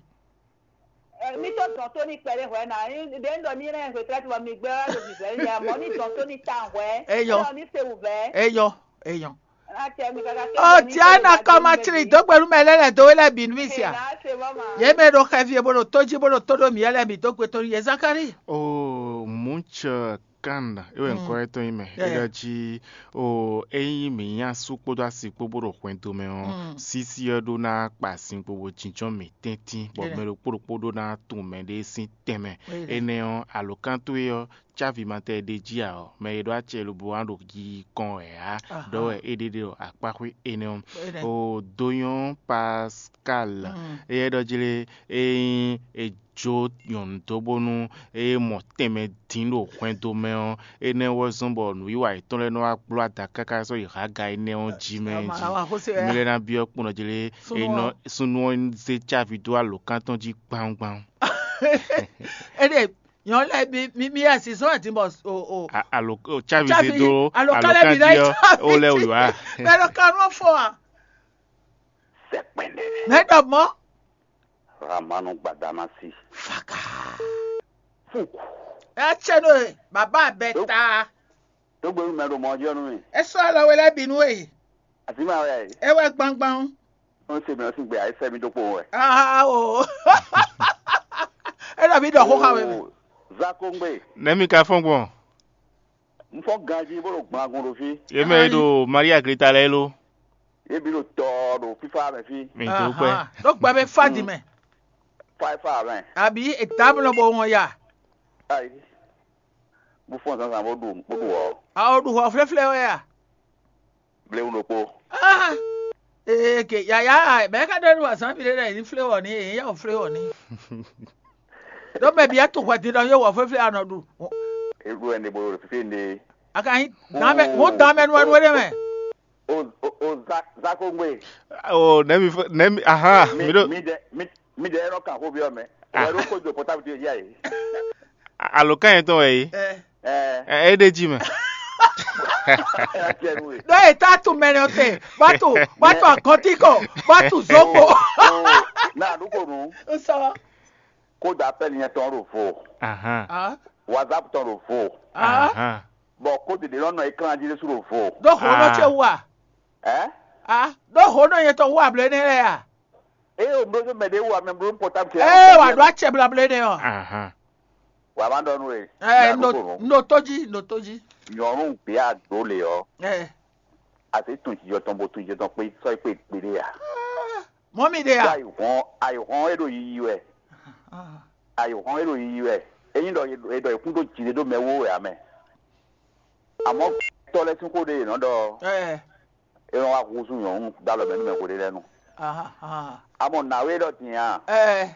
Mi tó dɔn tó ní kpɛɖé hwɛ ná, ɖě un ɖɔ ní lɛ́ hwetɛ́ bɔ mi gbɛ́ wá ɖo vǐvɛ́ ní ya mɔ̌ ní dɔn tó ní ta hwɛ. Eyɔ. Ní se wǔvɛ́. Eyɔ, eyɔ. Ɔ Diana kɔmatri dó gbɛnú mɛ lɛ́ lɛ̌ dó we lɛ́ɛ bǐ nú mì sia. Yě mɛ ɖo xɛvi e bó ɖo tó jí bó ɖo tó ɖó mǐ lɛ́ɛ bǐ dó gbe tɔn nú yě Zakalíi. O Munch Kand, é wɛ ŋkɔ étɔn nyí mɛ. É ɖɔ jí o ényí mǐ nyí asú kpódó asi kpó bó ɖo hwɛndo mɛ ɔ́, sísí ɔ́ ɖó ná kpa sin kpo bó jínjɔ́n mǐ tɛ́ntin, bɔ mɛ ɖokpó ɖokpó ɖó ná tunwun mɛɖée sín tɛnmɛ. Énɛ́ ɔ́, alǒkan towe ɔ́, cávi ma tɛ ɖ'é jí ǎ ɔ́, mɛ e ɖó acɛ lobo wá ɖo yiyi kɔn wɛ ǎ, ɖɔ wɛ é ɖe ɖe ɖo akpáxwé énɛ́ ɔ́. O dó nyɔ́ Pascal, éyɛ́ ɖɔ jí lé, ényí è jó nyɔ̌nu dó bónú é mɔ tɛnmɛ dín ɖo hwɛndo mɛ ɔ́, énɛ́ wɛ zɔ́n bɔ nǔwiwa yětɔn lɛ́ɛ nɔ wá gbló ada káká sɔ́ yi Haga énɛ́ ɔ́ jí mɛ jí. Mi lɛ́ ná byɔ́ kpɔ́n jí lé, súnnu ɔ́ zé cávi dó alǒkan tɔn jí gbawungbawu. Éɖée nyɔ̌nu lɛ́ɛ mi mi mi yɛ si zɔ́n ɛ din bɔ o o A- alo o- cávi zé dó alɔkálẹ̀ mi alɔkán lɛ́ɛ jí ɔ́ ó lɛ wǐwá. Mɛ ɖo kan nɔ fɔ a? Sɛkpɛnɛ. Mɛ ɖɔ mɔ. Ramanu Gbadamasi. Faka. Fuku. Ɛ tsɛ nɔ ye baba bɛ ta. Tó gbɛnu mɛ ɖo mɔ ɔ́ jí ɔ́ nú mì. E sɔ alɔ we lɛ bi nú e. Àti ma wɛ. E wɛ gbangban. Ó se mì ɔ́ sín gbe ayé sɛ́ mì dó kpowun wɛ. Aa o. E ɖɔ mi ɖɔ xó xa we mɛ. Zakongbe. Nɛ̌ mi ka fɔ́n gbɔn? Un fɔ́n ganjí bó ɖo gblangun ɖo fí. Yě mɛ e ɖo Maria Gleta lɛ́ɛ lo. Yě bǐ ɖo tɔ ɖo fífá mɛ fí. Mi dó kpɛ. Ɖó gbɛ bɛ fá di mɛ. Fá e fá mɛ. Àbí ètá mi lɔ bɔ wɔn ya. Ayi. Bó fɔ́n zǎnzǎn bó ɖu bó ɖu ɔ. Awo ɖu hɔ flɛ́flɛ́ wɛ ya. Blewu ɖokpó. Ah! Ee ke yaya bɛɛ ka ɖɔ ɖo azǎn mi ɖé ɖɔ yě ní flé wɔ ní yě ní yá wɔ flé wɔ ní. Ɖó mɛ bia to hwɛ din ɖɔ yóò wɔ flɛ́flɛ́ anɔ ɖu. Eɖo ɛnɛ bo ɖo fífí ne. A ka nyí dán mɛ mɔ dán mɛ nu wɛ nu wɛ ɖé mɛ. O o o za zakongbe. O nɛmi nɛmi ahan mi ɖo. Mi dɛ mi mi dɛ ɛrɔ kan xó biɔ mɛ. Wɛ ɖo kó do pɔtabu ti yá yi. Alo kan yẹn tɔn wɛ yi. Ɛ. Ɛ é ɖe jí mɛ. Ɖó e tá tu mɛ nɔ te, bá tu bá tu agɔntíkɔ, bá tu zógbó. Na ɖu ko nu. Sɔ. Kódà apɛli yẹn tɔn ɖo vo. Ahan. Ah. WhatsApp tɔn ɖo vo. Ah. Ahan. Bɔn kódì ɖé nɔ nɔ ekran jí ɖésú ɖo vo. Ɖó ho nɔ ce wú a? Ɛ? Ah, ɖó ho nɔ nyɛ tɔn wú ablɛ nɛ lɛ a? Eye o mló mɛ ɖé wú amɛ mló pɔtábu ce. Ee wà ɖó acɛ blablɛ nɛ ɔ. Ahan. Wà má ɖɔ nú e. Ɛ n ɖo n ɖo tó jí n ɖo tó jí. Nyɔnu gbé àdó lè ɔ. Ɛ. Àti tún jijɔ tɔn bó tún jijɔ tɔn pé sɔ pé gbéɖé a. Mɔ mi ɖe a. Ayihɔn ayihɔn e ɖo yiyi wɛ. Ayihɔn e ɖo yiyi wɛ. Eyin ɖɔ e ɖɔ ekún ɖo jide ɖo mɛ wo wɛ amɛ. Àmọ́ tɔ́ lɛ́ sín xó ɖé yě nɔ ɖɔ. Ɛ. E nɔ wá húzú nyɔ̌nu dó alɔ mɛ nú mɛ hweɖé lɛ́ɛ nu. Aha, aha. Àmọ́ nǎwe ɖɔ din a? Ɛ.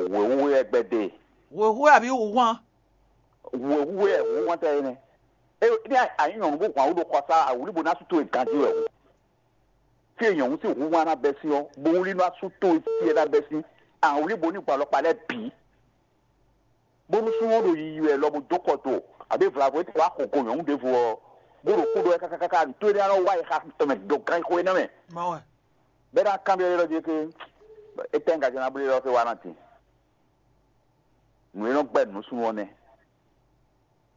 Wěwú wɛ gbɛdé. Wěwú wɛ àbí wǔhwan? Wěwú wɛ wǔhwan tɛ é nɛ. E ní a- a nyí nyɔ̌nu bó hwan wú ɖo xɔsá awǔlí bó ná sú towe ganjí wɛ o. Fí e nyɔ̌nu sín wǔhwan ná bɛ́ sín ɔ́, bó wlí ná sú towe fí e ná bɛ́ sín awǔlí bó ní gbɔn alɔkpa lɛ́ɛ bǐ. Bónú súnnu ɔ́ ɖo yiyi wɛ lɔ bó dó kɔ do, abǐ vlavo e wá xo go nyɔ̌nu ɖěvo ɔ́, bó ɖo kú ɖó wɛ káká káká nǔtó énɛ́ ɔ́ nɔ wá yi xa tɔn mɛ ɖo ganxixo énɛ́ mɛ. Mawɛ. Bɛ́ ná kanbyɔ́ ɖé ɖɔ jí ké, étɛ́ un ka jɛ ná bló ɖɔ fé wá ná din? Nǔ e nɔ gbɛ́ nǔ súnnu ɔ́ nɛ́.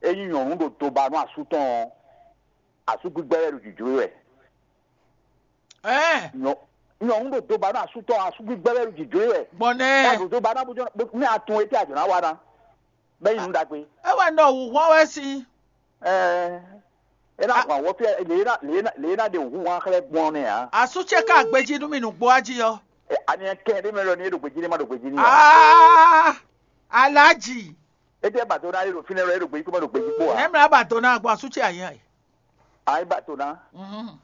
Ényí nyɔ̌nu ɖo do ba nú asú tɔn ɔ́, asú gbígbɛ́ wɛ ɖo jǐjló wɛ. Ɛɛ. Nyɔ nyɔ̌nu ɖo do ba nú asú tɔn asú gbígbɛ́ wɛ ɖo jǐjló wɛ. Gbɔn nɛ. Ɛ ɖo do ba ná bó jɔ bó- mɛ atun etí àjɔ ná wa ná. Bɛ́ yi nǔ ɖagbe. É wɛ ɖɔ wǔhɔn wɛ sín. Ɛɛ. É ná hwan wɔ fí lě ná lě ná lě ná ɖe wǔhɔn xlɛ́ gbɔn nɛ ǎ. Asú ce ká gbejí nú mi nǔgbó wá jí ɔ́. Ɛ, ani kɛ ɖé mɛ lɔ ni é ɖo gbejí ní ma ɖo gbejí ní ǎ. Aa. Alájì. Ete ba do na é ɖo fínɛ́ lɔ é ɖo gbejí kpó ma ɖo gbejí kpó ǎ. Nɛ́ mlá ba do ná gbɔ asú ce àyàn ɛ. Ayi ba do na. Mhm.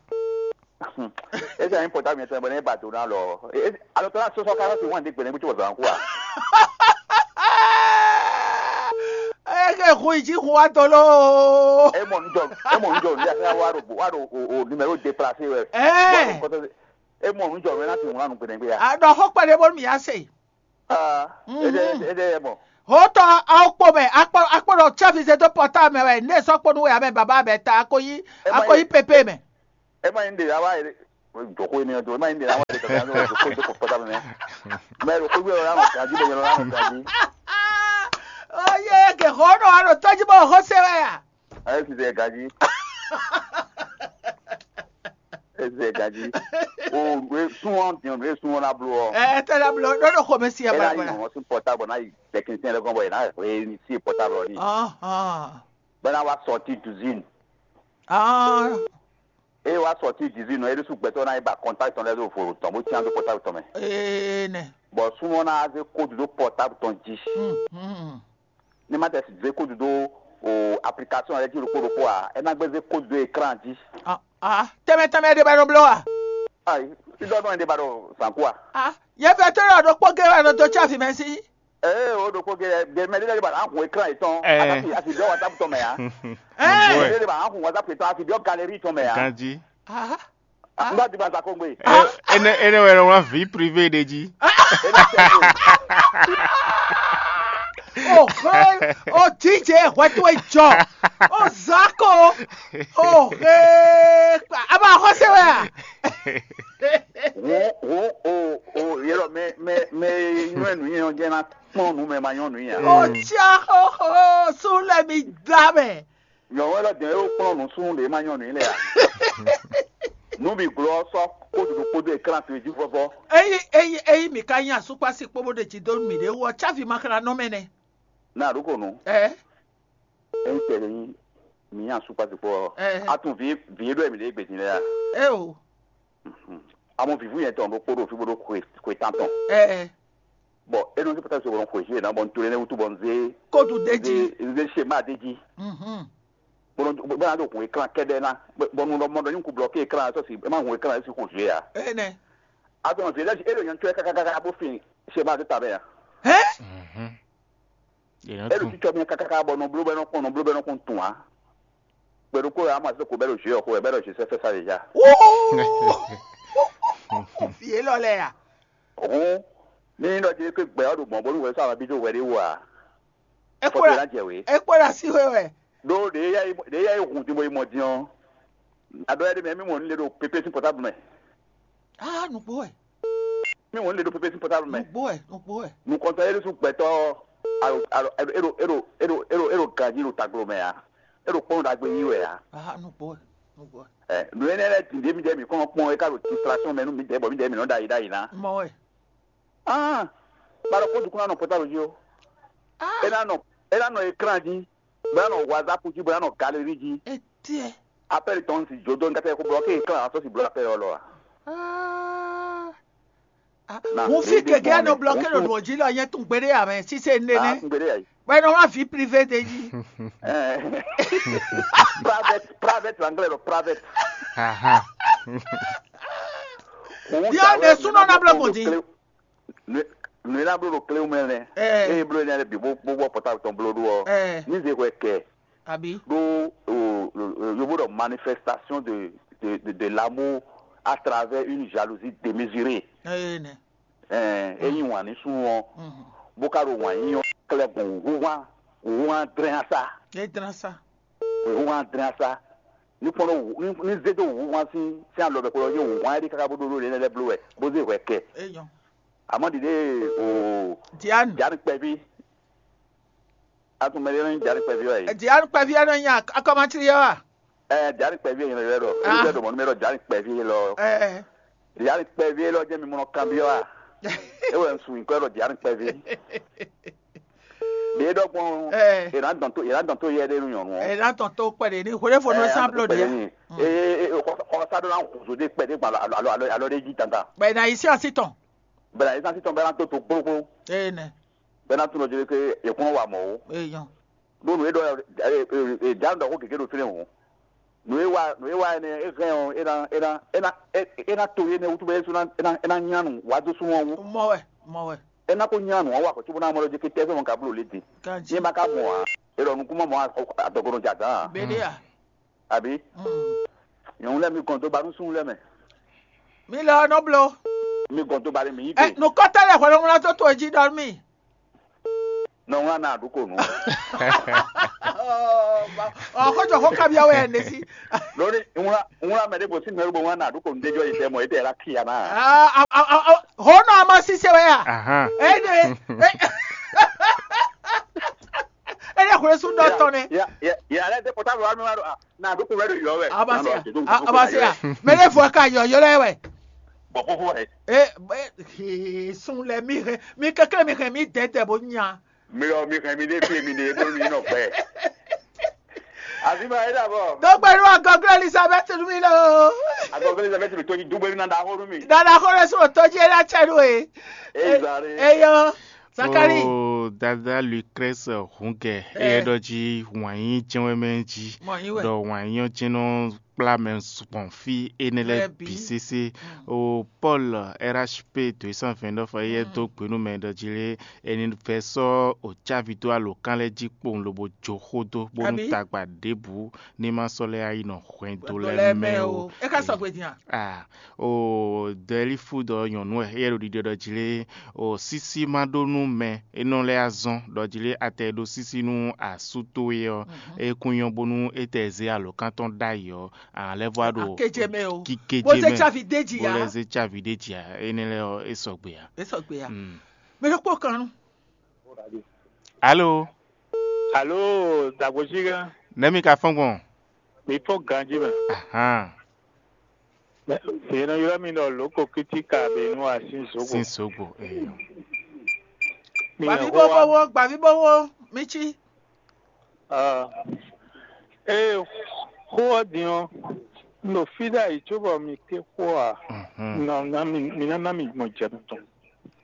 Ese anyi pɔta mi tɔn bɔ ne ba do na lɔ. Alɔ tɔn na sɔsɔ ka si wan de gbɛnɛ gbɛtɔ zan kua. Eke hu yi ji hu wa dɔ lo. E mɔ nujɔ e mɔ nujɔ ni a wa ɖo wa ɖo o o numéro déplacé wɛ. Ɛɛ. E mɔ nujɔ wɛ na ti ŋun anu gbɛnɛ gbɛ ya. A ɖɔ xɔ kpɛɖe bɔ mi ya se. Ah, ede ede mɔ. Hotɔ awo kpo mɛ, akpɔ akpɔ ɖɔ tsafi zé dó pɔta mɛ wɛ, ne sɔ kpo nu wɛ amɛ baba mɛ ta ako yi ako yi pepe mɛ. Ema yin de awa ede. Joko ene do ema yin de awa ede kaka do ko do pɔta mɛ. Mɛ do ko gbé la mo gaji bɛ la mo gaji. Oye ke ho no aro tɔji bɔ ho se wɛ ya. Ayi si se gaji. Eze gaji. O we sun ɔ diɔn we sun ɔ na blo ɔ. Ɛ tɛ la blo ɖo ɖo xɔmɛ si ɛ Ena bɔ yi bɔ. Wɔn sun pɔta bɔ na yi technicien lɛ gɔn bɔ yina he ni si pɔta bɔ ni. Ɔhɔn. Bɛ na wa sɔti duzin. Ɔhɔn. E wa sɔti duzin nɔ e ɖe su gbɛtɔ na yi ba contact tɔn lɛ do vo tɔn bo tiɲa do pɔta tɔn mɛ. Ee nɛ. Bɔ sun ɔ na ze code do pɔta tɔn ji. Hmm. Ne ma tɛ zé kó dó o application lɛ́ɛ jí ɖokpó ɖokpó ǎ, é ná gbé zé kó dó écran jí. Ah, tɛmɛ tɛmɛ ɖe ba nɔ bló wa. Ayi, fí dɔdɔn ɖe ba ɖo zǎn kú a? Ah, yɛ fɛ tó ɖɔ ɖokpó gé wa nɔ dó tsi afi mɛ sí. Ee, o ɖokpó gé gé mɛ ɖé lɛ́ɛ ba ná hun écran yětɔn. Ɛɛ. Asi asi dɔ WhatsApp tɔn mɛ ya. Ɛɛ. Mɛ ɖé ba ná hun WhatsApp yětɔn asi dɔ galerie tɔn mɛ ya. Ganji. Ah. N bá di ma sa kó gbé. Ene ene wɛ wlán vie privée ɖe jí. Ohe, o DJ hwɛ towe jɔ, o zako, ohe, a ma xɔ se wɛ a? Wo wo o o yelɔ mɛ mɛ mɛ nyɔɛ nu yɛn jɛ na kpɔn nu mɛ ma nyɔ nu ya. O tia xɔxɔ sun lɛ mi da mɛ. Nyɔ̌nu élɔ́ dɛn e kplɔ́n nǔsúnnú ɖě ma nyɔ́ nǔ i lɛ́ɛ ǎ. Nǔ bǐ glɔ́ ɔ́ sɔ́ kódó ɖokpódó e klán to e jí vɔ́vɔ́. Ényí ényí ényí mǐ ka nyí asúkpási kpó bó ɖe jǐ dó mǐɖée wú ɔ́, cávi ma xlá nɔ mɛ nɛ́. Ná ɖǒ ko nǔ. Ɛɛ. Ényí tɛɖe nyí mǐ nyí asúkpási kpó ɔ́, Ɛɛ. A tunwun vǐ vǐ e ɖó wɛ mǐ ɖe gbedin lɛ́ɛ a? Ée o. Amɔ vǐvú nyɛ tɔn ɖokpó ɖo fí bó ɖó xwe xwe tán tɔn. Ɛɛ. Bɔ é nɔ zé pɔtɛ́ so bɔ un xweyǐgbe ná bɔ un to énɛ́ wútu bɔ un zé Kódu d'é jí. Un zé un zé schéma d'é jí. Mhm. Bɔ un bɔ un ná ɖo hun écran kɛ́ɖɛ́ ná bɔ un ɖɔ mɔ ɖɔ nyí un kú blɔké écran ɔ́ sɔ́ si é má hun écran ɔ́ sí xo jwě ǎ. Énɛ́. Azɔn vǐ lɛ́ɛ é ɖo nyɔ̌nu cɔ́ kákákáká bó fin schéma dó ta mɛ ǎ. Hɛn? Mhm. Yě nɔ É ɖo tún. Cícɔ mɛ kákáká bɔ nɔ bló bɔ é nɔ kpɔn nɔ bló bɔ é nɔ kpɔn tun ǎ. Gbɛɖokpó wɛ ama seko bɛ ɖo jwě ɔ́ xo wɛ bɛ ɖo jwě sɛfɛ sa déjà. Wóó. Fi élɔ́ lɛ ya. Hǔn ní nyí ɖɔ jí é kpé gbɛ ɔ́ ɖo gbɔn bónú hwɛ sɔ́ ama bí dó hwɛ ɖé wú ǎ. Fɔ́tɛ́ ná jɛ wě. É kpó ɖo así hwe wɛ. Ɖó ɖě yá yi ɖě yá yi hun din bó yi mɔ din ɔ́, aɖɔ yá ɖé mɛ mí mɔ ní le ɖo pépé sín pɔtáblu mɛ. Á nǔgbó wɛ. Mí mɔ ní le ɖo pépé sín pɔtáblu mɛ. Nǔgbó wɛ, nǔgbó wɛ. Nukɔntɔn é ɖésú gbɛtɔ́ alo alo é ɖo é ɖo é ɖo é ɖo é ɖo ganjí ɖo taglo mɛ ǎ. É ɖo kpɔ́n ɖagbe yí wɛ ǎ. Á nǔgbó wɛ, nǔgbó wɛ. Ɛ nǔ énɛ́ lɛ́ɛ din ɖě mǐdɛɛ mǐ kɔn nɔ kpɔn é ká ɖo distraction mɛ nú mǐdɛɛ bɔ mǐdɛɛ mǐ nɔ ɖo ayǐ ɖ'ayǐ ná. Mɔ wɛ. Ah, ba ɖɔ kó dukún ná nɔ pɔtáblu jí ó. Ah. É ná nɔ é ná nɔ écran jí, bó ná nɔ WhatsApp jí, bó ná nɔ galerie jí. Étiɛ. Appel tɔn si jó dó nkáté kó blɔké écran ɔ́ sɔ́ si blɔ appel ɔ́ lɔ a? Ah. Ah, Na, mo fi ɖe- ɖe- keke mɔ anɔ mɛ, blɔké mo ɖo fi- nɔ jí lɔ nyɛ tún gbeɖé amɛ sise Ah, nene. Ngbede ayi. Bɛ nɔ ma vi privé de jí. Eh. Private, private l'anglais ɖɔ private. Aha. Bia ne sunɔ na blɔ mɔ di. Nue na blo ɖo kléwu mɛ nɛ. Eh. Eye blo ne bi bo bo bɔ pɔta tɔn blo ɖo ɔ. Eh. Ni ze hwɛ kɛ Abi. Ɖo o- o- yovo ɖɔ manifestation de de de, de l'amour à travers une jalousie démesurée. Eye nɛ. Ɛɛ eyi wàn ní sun ɔ Mhm. Bó ká ɖo wàn yí ɔ klɛ gbɔn wúhwán wúhwán drɛn asa. E dran sa. Wúhwán drɛn asa. Ní kpɔn ɖo ní ní zé dó wúhwán sín sín alɔ mɛ kplɔ́ yé wúhwán ɛɖí káká bó ɖó ɖó lé lɛ́ bló wɛ bó zé hwɛ kɛ. Eyɔn. Àmọ́ ɖiɖe o Diane. Diane kpɛví. Atún mɛ ɖé nɔ nyí Diane kpɛví wɛ yìí. Diane kpɛví ɛnɔ nyí akɔmatiri yɛ wa. Ɛ Diane kpɛví yɛ nyɛ lɛ ɖɔ. Ah. Ebi ɖo mɔnu mɛ ɖɔ Diane kpɛví lɔ. Ɛ. Diane kpɛví lɔ jẹ́ mi mɔnɔ kanbyɔ wa. Ewɛ ŋsu nyikɔ ɖɔ Diane kpɛví. Ɖe ɖɔ gbɔn. Ɛ. Yɛn adɔn to yɛn adɔn to yɛ ɖe nu nyɔnu. Ɛ na tɔn to kpɛ de ni hwele fo nu Ɛ, san blo de. Ee, ee, xɔ xɔ sa ɖo na xɔzo de kpɛ de gba alo alo alo alo de ji dandan. Bɛ na yi si asi tɔn. Bɛ na yi si asi tɔn bɛ na to to gbogbo. Ee nɛ. Bɛ na to nɔ jɛ ke yɛ kɔn wa mɔ o. Ee yɔn. Ɖó nǔ e ɖɔ ɛ ɛ ɛ ɖa ɖɔ xó gěgé ɖo fínɛ́ hǔn. Nǔ e wa nǔ e wa énɛ́ é hɛn ɔ́ é ná é ná é ná é é ná to énɛ́ wútu bɔ é sú ná é ná é ná nyá nǔ wá dó súnmọ́ wú. Mɔ wɛ, mɔ wɛ. É ná kó nyá nǔ ɔ́ wa kɔ̌ cóbó ná mɔ lɔ jí ké tɛ́ sɔ́ mɔ ka bló lě din. Ní ma ka mɔ ǎ, é ɖɔ nukún mɔ mɔ adɔgɔnɔ jɛ azǎn ǎ. Bɛɖe a. Àbí? Mm. Nyɔ̌nu lɛ́ɛ mi gɔn dó ba nú súnnu lɛ́ɛ mɛ. Mi lɛ ɔ́ nɔ bló. Mi gɔn dó ba ɖé mi yí gbe. Nǔkɔtɔ́ lɛ́ɛ hwɛɖɔmlá tó towe jí ɖɔ nú mì. Nɔ wlán ná ɖu ko nǔ. Ɔ xó jɔ xó kabyɔ wɛ ne sí. Lórí wlán wlán mɛ ɖé bó sí mɛ ɖé bó wlán ná ɖu ko nǔ déjɔ yi tɛ mɔ yi tɛ la kia ná. Hó nɔ ama sise wɛ ya. Ahan. Eye eye xwlé sún dɔ tɔn nɛ. Ya ya ya lɛ dé pɔtáblu wa mi wa ɖo a na ɖu ko wɛ ɖo yɔ wɛ. Abasi ya abasi ya. Mɛ ɖé fɔ ka yɔ yɔ lɛ wɛ. Bɔ fofo wɛ. E e sun lɛ mi hɛn mi kɛkɛ mi hɛn mi dɛdɛ bo nya. Mi ɔ mi hɛn mi ɖe fie mi ɖe bónú mi nɔ gbɛ. Azima é ɖabɔ. Dogbe nú agɔglo Elizabeth nú mi lɔ. Agɔglo Elizabeth mi tó ní dúgbò mi na da xó nú mi. Dada xó ɖé sún òtó jí é ná tsɛ nú e. Ezali. Eyɔ. Zakari. Oh, dada Lucrèce Hungɛ, é ɖɔ jí wǎn yí jɛ́n wɛ mɛ jí. Mɔ yín wɛ. Ɖɔ wǎn yí ɔ́ jɛ́n nɔ kplá mɛ gbɔn fí énɛ́ lɛ́ɛ Lɛ́ɛ bǐ. Bǐ sésé. O Paul R H P dǒ sán vɛ̌ ɖɔ fɔ éyɛ́ dó gbe nú mɛ ɖɔ jí lé, è nǐ vɛ́ sɔ́ o cávi dó alǒkan lɛ́ɛ jí kpowun lobo jó xó dó, bónú Abǐ? Tagba ɖěbǔ ní ma sɔ́ lɛ́ yá yi nɔ hwɛndo Hwɛndo lɛ́ɛ lɛ́ɛ mɛ mɛ o. O. É ka sɔgbe din a? Ah, o dɔ̌lífú dɔ nyɔ̌nu wɛ, éyɛ́ ɖo ɖiɖɔ ɖɔ jí lé, o sísí ma ɖó nú mɛ, é nɔ lɛ́ azɔn ɖɔ jí lé, atɛ e ɖó sísí nú asú towe ɔ́, é kún nyɔ́ bónú é tɛ zé alǒkan tɔn ɖ'ayǐ ɔ́, a lɛ́ vɔ wá ɖo Akéjɛ mɛ o. Kíkéjé Bó zé mɛ, tsávi d'é jí bó ǎ. Lɛ́ zé tsávi ɖ'é jí ǎ, énɛ́ lɛ́ɛ ɔ́, é sɔgbe ǎ. É sɔgbe ǎ. Mm. Mɛ ɖokpó kan nú. Alo, Alo, dagbozi gã, nɛ̌ mi ka fɔ́n gbɔn? Mi fɔ́n ganjí mɛ. Ahan, Yě nɔ ylɔ́ mi ɖɔ lǒko kítíka be nú asín zǒgbó. Sín zǒgbó. Ee. Mi Gbàbí hɛn xó wá. Bówó, gbàbí bówó, mi cí. Ah. Ée xó ɔ́ din ɔ́, un ɖo fí ɖ'ayǐ cóbɔ mi ké xó ǎ. Mhm. Nɔ ná mi mi ná ná mi gbɔn jɛ tɔn.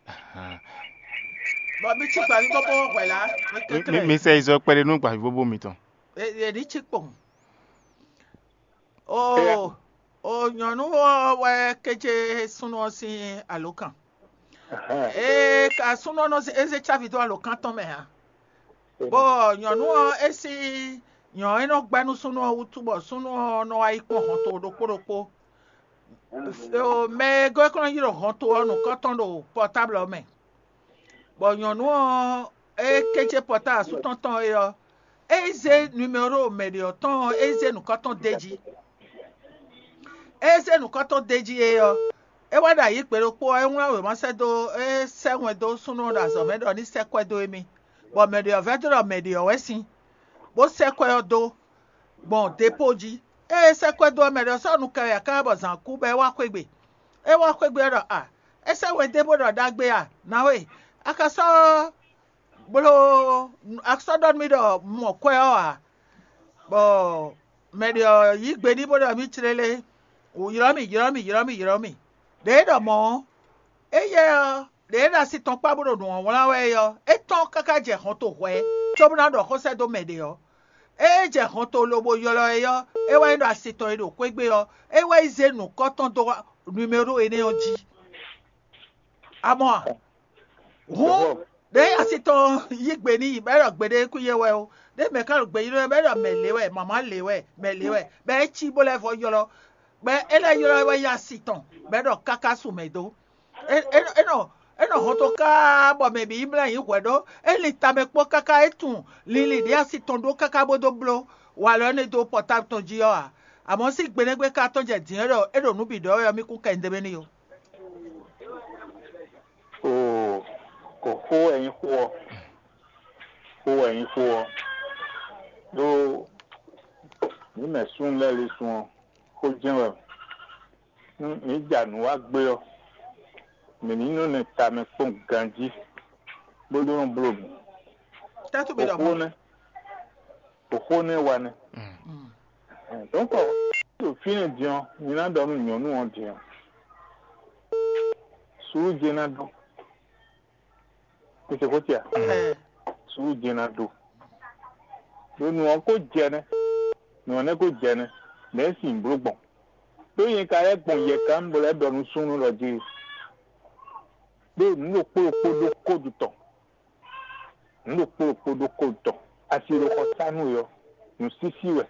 Ahan. Bɔ mi cí gbàbí bówó hwɛ̌ lá, mi Mi- mi- kékeré. Mi sɛ yi zɔ kpɛɖé nú gbàbí bóbó mitɔn. È ní cí kpɔn. O o nyɔ̌nu ɔ́ wɛ kéje súnnu ɔ́ sín alǒkan. Ee ka súnnu ɔ́ nɔ zé- é zé cávi dó alǒkan tɔn mɛ ǎ. Bɔ nyɔ̌nu ɔ́ é sín nyɔ̌ e nɔ gbɛ́ nú súnnu ɔ́ wútu bɔ súnnu ɔ́ nɔ wá yi kpɔ́n hɔnto ɖokpó ɖokpó. O mɛ e gɔ́ é kɔn nɔ yi ɖo hɔnto ɔ́ nǔkɔntɔn ɖo pɔtáblɔ ɔ́ mɛ. Bɔ nyɔ̌nu ɔ́, é kéce pɔtáa asú tɔn tɔn é ɔ́, é yi zé numéro mɛɖě ɔ́ tɔn ɔ́, é yi zé nǔkɔn tɔn d'é jí. É yi zé nǔkɔn tɔn d'é jí é ɔ́, é wá ɖo ayǐ gbe ɖokpó ɔ́, é wlán wěma sɛ́ dó é sɛ́ wɛn dó súnnu ɔ́ ɖo azɔ̌ mɛ ɖɔ ní sɛ́ kwɛ́ dó émí, bɔ mɛɖě ɔ́ vɛdó ɖɔ mɛɖě ɔ́ wɛ sín, bó sɛ́ kwɛ́ ɔ́ dó gbɔn depóo jí. Ée é sɛ́ kwɛ́ dó ɔ́, mɛɖě ɔ́ sɔ́ nu kɛ wɛ ǎ káká bɔ zǎn kú bɔ é wá xwé gbe. É wá xwé gbe ɔ́ ɖɔ a, é sɛ́ wɛn dé bó ɖɔ ɖagbe a, nǎwe, a ka sɔ́ bló a sɔ́ ɖɔ nú mì ɖɔ un mɔ kwɛ́ ɔ́ ǎ. Bɔ mɛɖě ɔ́ yí gbe n'i bó ɖɔ mì clélé, wǔ ylɔ́ mì, ylɔ́ mì, ylɔ́ mì, ylɔ́ mì. Ɖěe é ɖɔ mɔ̌ ɔ́, éyɛ́ ɔ́, ɖě e ɖo asi tɔn kpá bó ɖo nǔ ɔ́ wlán wɛ é ɔ́, é tɔ́n káká jɛ hɔnto hwɛ̌, cóbó ná ɖɔ xó sɛ́ dó mɛ ɖě ɔ́. Ée é jɛ hɔnto lobo ylɔ́ ɛ ɔ́, é wá yi ɖo asi tɔn e ɖo xwé gbe ɔ́, é wá yi zé nǔkɔn tɔn dó numéro énɛ́ ɔ́ jí. A mɔ a? Hǔn, ɖěe asi tɔn yí gbe n'i bɔ é ɖɔ gbeɖé kú yé wɛ ó, ɖěe mɛ ká ɖo gbe ylɔ́ ɛ bɔ é ɖɔ mɛ lě wɛ, mama lě wɛ, mɛ lě wɛ, bɔ é cí bó lɛ́ vɔ ylɔ́, bɔ é lɛ́ ylɔ́ ɛ wá yi asi tɔn, bɔ é ɖɔ káká su mɛ dó. É é nɔ é nɔ é nɔ hɔn to káá bɔ mɛ bǐ yi mlá nyǐ hwɛ̌ ɖó é lin tamɛ kpó káká é tunwun linlin ɖě asi tɔn ɖó káká bó dó bló walɔ énɛ́ dó pɔtábl tɔn jí ɔ́ ǎ. Amɔ̌ sín gbenɛ́gbé ka tɔ́n jɛ dǐn é ɖɔ é ɖo nǔ bǐ ɖɔ wɛ ɔ́, mì kún kɛ nyi ɖ'é mɛ n'i ó. Oo, ko xó wɛ nyí xó ɔ́, xó wɛ nyí xó ɔ́, ɖó mǐ mɛ súnnu lɛ́ɛ lɛ́ɛ sun ɔ́, xó jɛ́n wɛ. Nú mǐ ja nǔ wa gbé ɔ́, mǐ ní nɔ nɔ tamɛ kpɔ́n ganjí, bó ɖó nɔ bló mǐ. Tɛ́tú mi ɖɔ Xó mɔ̌. Nɛ́, xó nɛ́ wa nɛ́. Dɔ̌nkɔ, ɖo fínɛ́ din ɔ́, mi ná ɖɔ nú nyɔ̌nu ɔ́ din ɔ́, suúlu jɛ́n ná ɖó. Kò se xó ce a? Ɛɛ, Suúlu jɛ́n ná ɖó. Ɖó nǔ ɔ́ kó jɛ nɛ́, nǔ ɔ́ nɛ́ kó jɛ nɛ́, nɛ̌ sin bló gbɔn? Ɖó nyɛ ka lɛ́ gbɔn yɛ kan bó lɛ́ ɖɔ nú súnnu ɖɔ jí, ɖó nǔ ɖokpó ɖokpó ɖó kódu tɔn, nǔ ɖokpó ɖokpó ɖó kódu tɔn, asi ɖo xɔ sá nú we ɔ́, nǔsísí wɛ,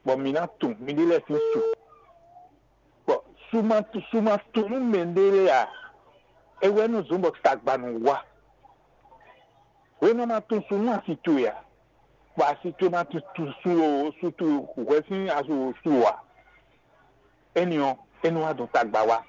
bɔ mǐ ná tunwun miɖée lɛ́ɛ sín su, bɔ Su ma su ma tunwun nú mɛɖé lɛ́ɛ ǎ. É wɛ nɔ zɔ́n bɔ tagba nɔ wá. Hwenu ma tunwun su nú asi towe ǎ, bɔ asi towe ma tunwun su su towe hwɛ sín asu su ǎ. Énɛ́ ɔ́, é nɔ wá dɔn tagba wá.